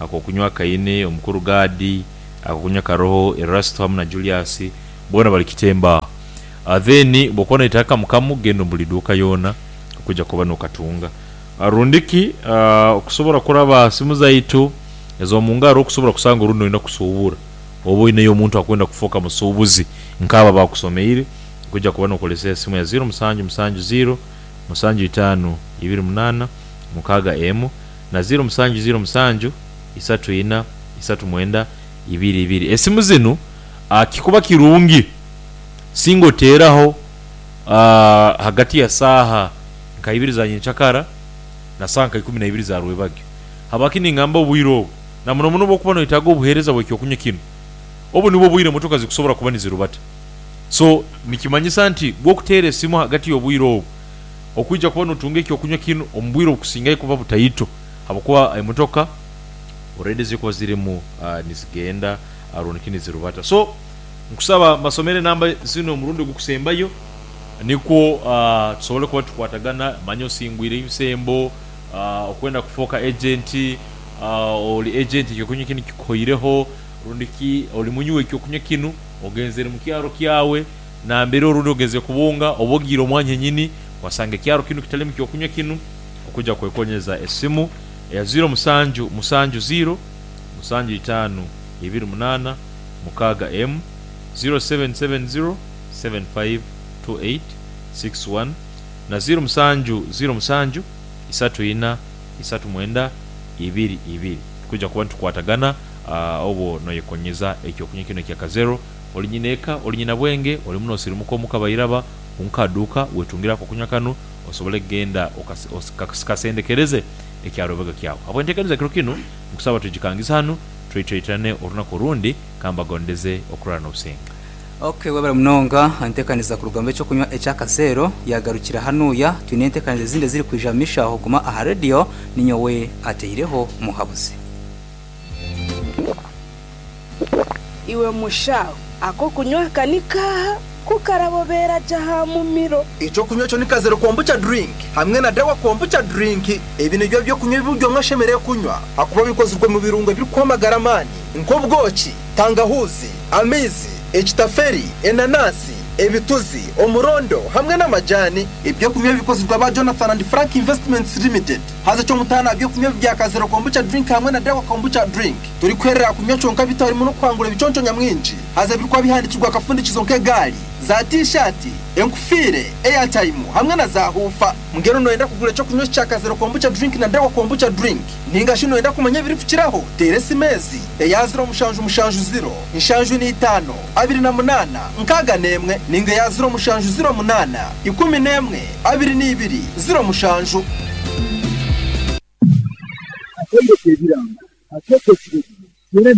akokunywa kaine omukuru Gadi, akokunywa karoho Erasto hamu na Julius, boona bali kitemba aho. Then bwokuba noyetaaga kamu kamu genda omu buli duuka yoona okwija kuba nokatunga. Rundiki okusobora kuraba ha simu zaitu ez'omungaro okusobora kusanga orundi noyenda kusuubura oba oineyo omuntu akwenda kufooka musuubuzi nk'abo abakusomeire, okwija kuba nokozesa esimu ya ziro musanju musanju ziro musanju itaanu ibiri munaana mukaaga emu na ziro musanju ziro musanju isatu ina isatu mwenda ibiri ibiri. Esimu zinu kikuba kirungi singa oteeraho hagati ya saaha nka ibiri za nyenkyakara na saaha nka ikumi naibiri za rwebagyo. Habwaki ningamba obwire obu? Na muno muno obwokuba noyetaaga obuheereza bw'ekyokunywa kinu, obu nibwo obwire emotoka zikusobora kuba nizirubata. So nikimanyisa nti bwokuteera esimu hagati y'obwire obu, okwija kuba notunga ekyokunywa kinu omu bwire obukusingayo kuba butaito habwokuba emotoka already zikuba zirimu nizigenda rundiki nizirubata. So nkusaba mbasomere enamba zinu omurundi ogukusembayo nikwo tusobole kuba nitukwatagana. Manya osingwire ebisembo, okwenda kufooka agent, oli agent ekyokunywa kinu kikuhoireho, rundiki oli munywi w'ekyokunywa kinu ogenzere mu kyaro kyawe nambere orundi ogenzere kubunga oba ogiire omwanya henyini wasanga ekyaro kinu kitalimu kyokunywa kinu, okwija kwekonyeza esimu eya ziro musanju musanju ziro musanju itaanu ibiri munaana mukaaga emu, 0770 7528 61 na ziro musanju ziro musanju isatu ina isatu mwenda ibiri ibiri. Tukwija kuba nitukwatagana obwo noyekonyeza ekyokunywa kinu ekya Kazero. Oli nyineeka, oli nyinabwenge, oli muno osirimuka omuka bairaba, omukaduuka wetungire akokunywa kanu osobole kugenda okasendekereze ekyarwebagyo kyawe. Habw'enteekaniza kiro kinu, nkusaba tugikangize hanu, tweitweitirane orunaku orundi, kambagondeze okurara n'obusinge. Ok webale munonga entekaniza kuruga omu ekyokunywa ekya Kazeero yagarukira hanuya, twine entekaniza ezindi eziri kwija mumisho aho guma aha radio ninyowe ateireho muhabuzi. Iwe mushaho, ak'okunywa aka ni kaaha? Ku karabobeera gye aha mumiro. Eky'okunywa ekyo ni Kazero Kombucha Drink hamwe na Dawa Kombucha Drink. Ebi nibyo by'okunywa ebi buri omwe ashemereire kunywa ahakuba bikozirwe omu birungo ebirikuha amagara amaani nk'obwoki, tangahuuzi, amaizi, ekitaferi, enanasi, ebituzi, omurondo hamwe n'amajani. Eby'okunywa ebi bikozirwe aba Jonathan and Frank Investments Limited. Haza eky'omutaano aha by'okunywa ebi bya Kazero Kombucha Drink hamwe na Dawa Kombucha Drink, torikuherera aha kunywa kyonka beitu harimu n'okuhangura ebiconco nyamwingi haza ebirikuba bihandikirwe aha kafundikizo nk'egaari, za T-shirt, enkufiire, airtime hamwe na za huufa. Mbwenu noyenda kugura eky'okunywa eki kya Kazero Kombucha Drink na Dawa Kombucha Drink? Ninga shi noyenda kumanya ebirikukiraho? Teera esimu ezi, eya ziro mushanju mushanju ziro, nshanju n'itaano, abiri na munaana, nkaaga n'emwe, ninga eya ziro mushanju ziro munaana, ikumi n'emwe, abiri n'ibiri, ziro mushanju. Akaire k'ebirango, akeekyo ekiro kino, kyona.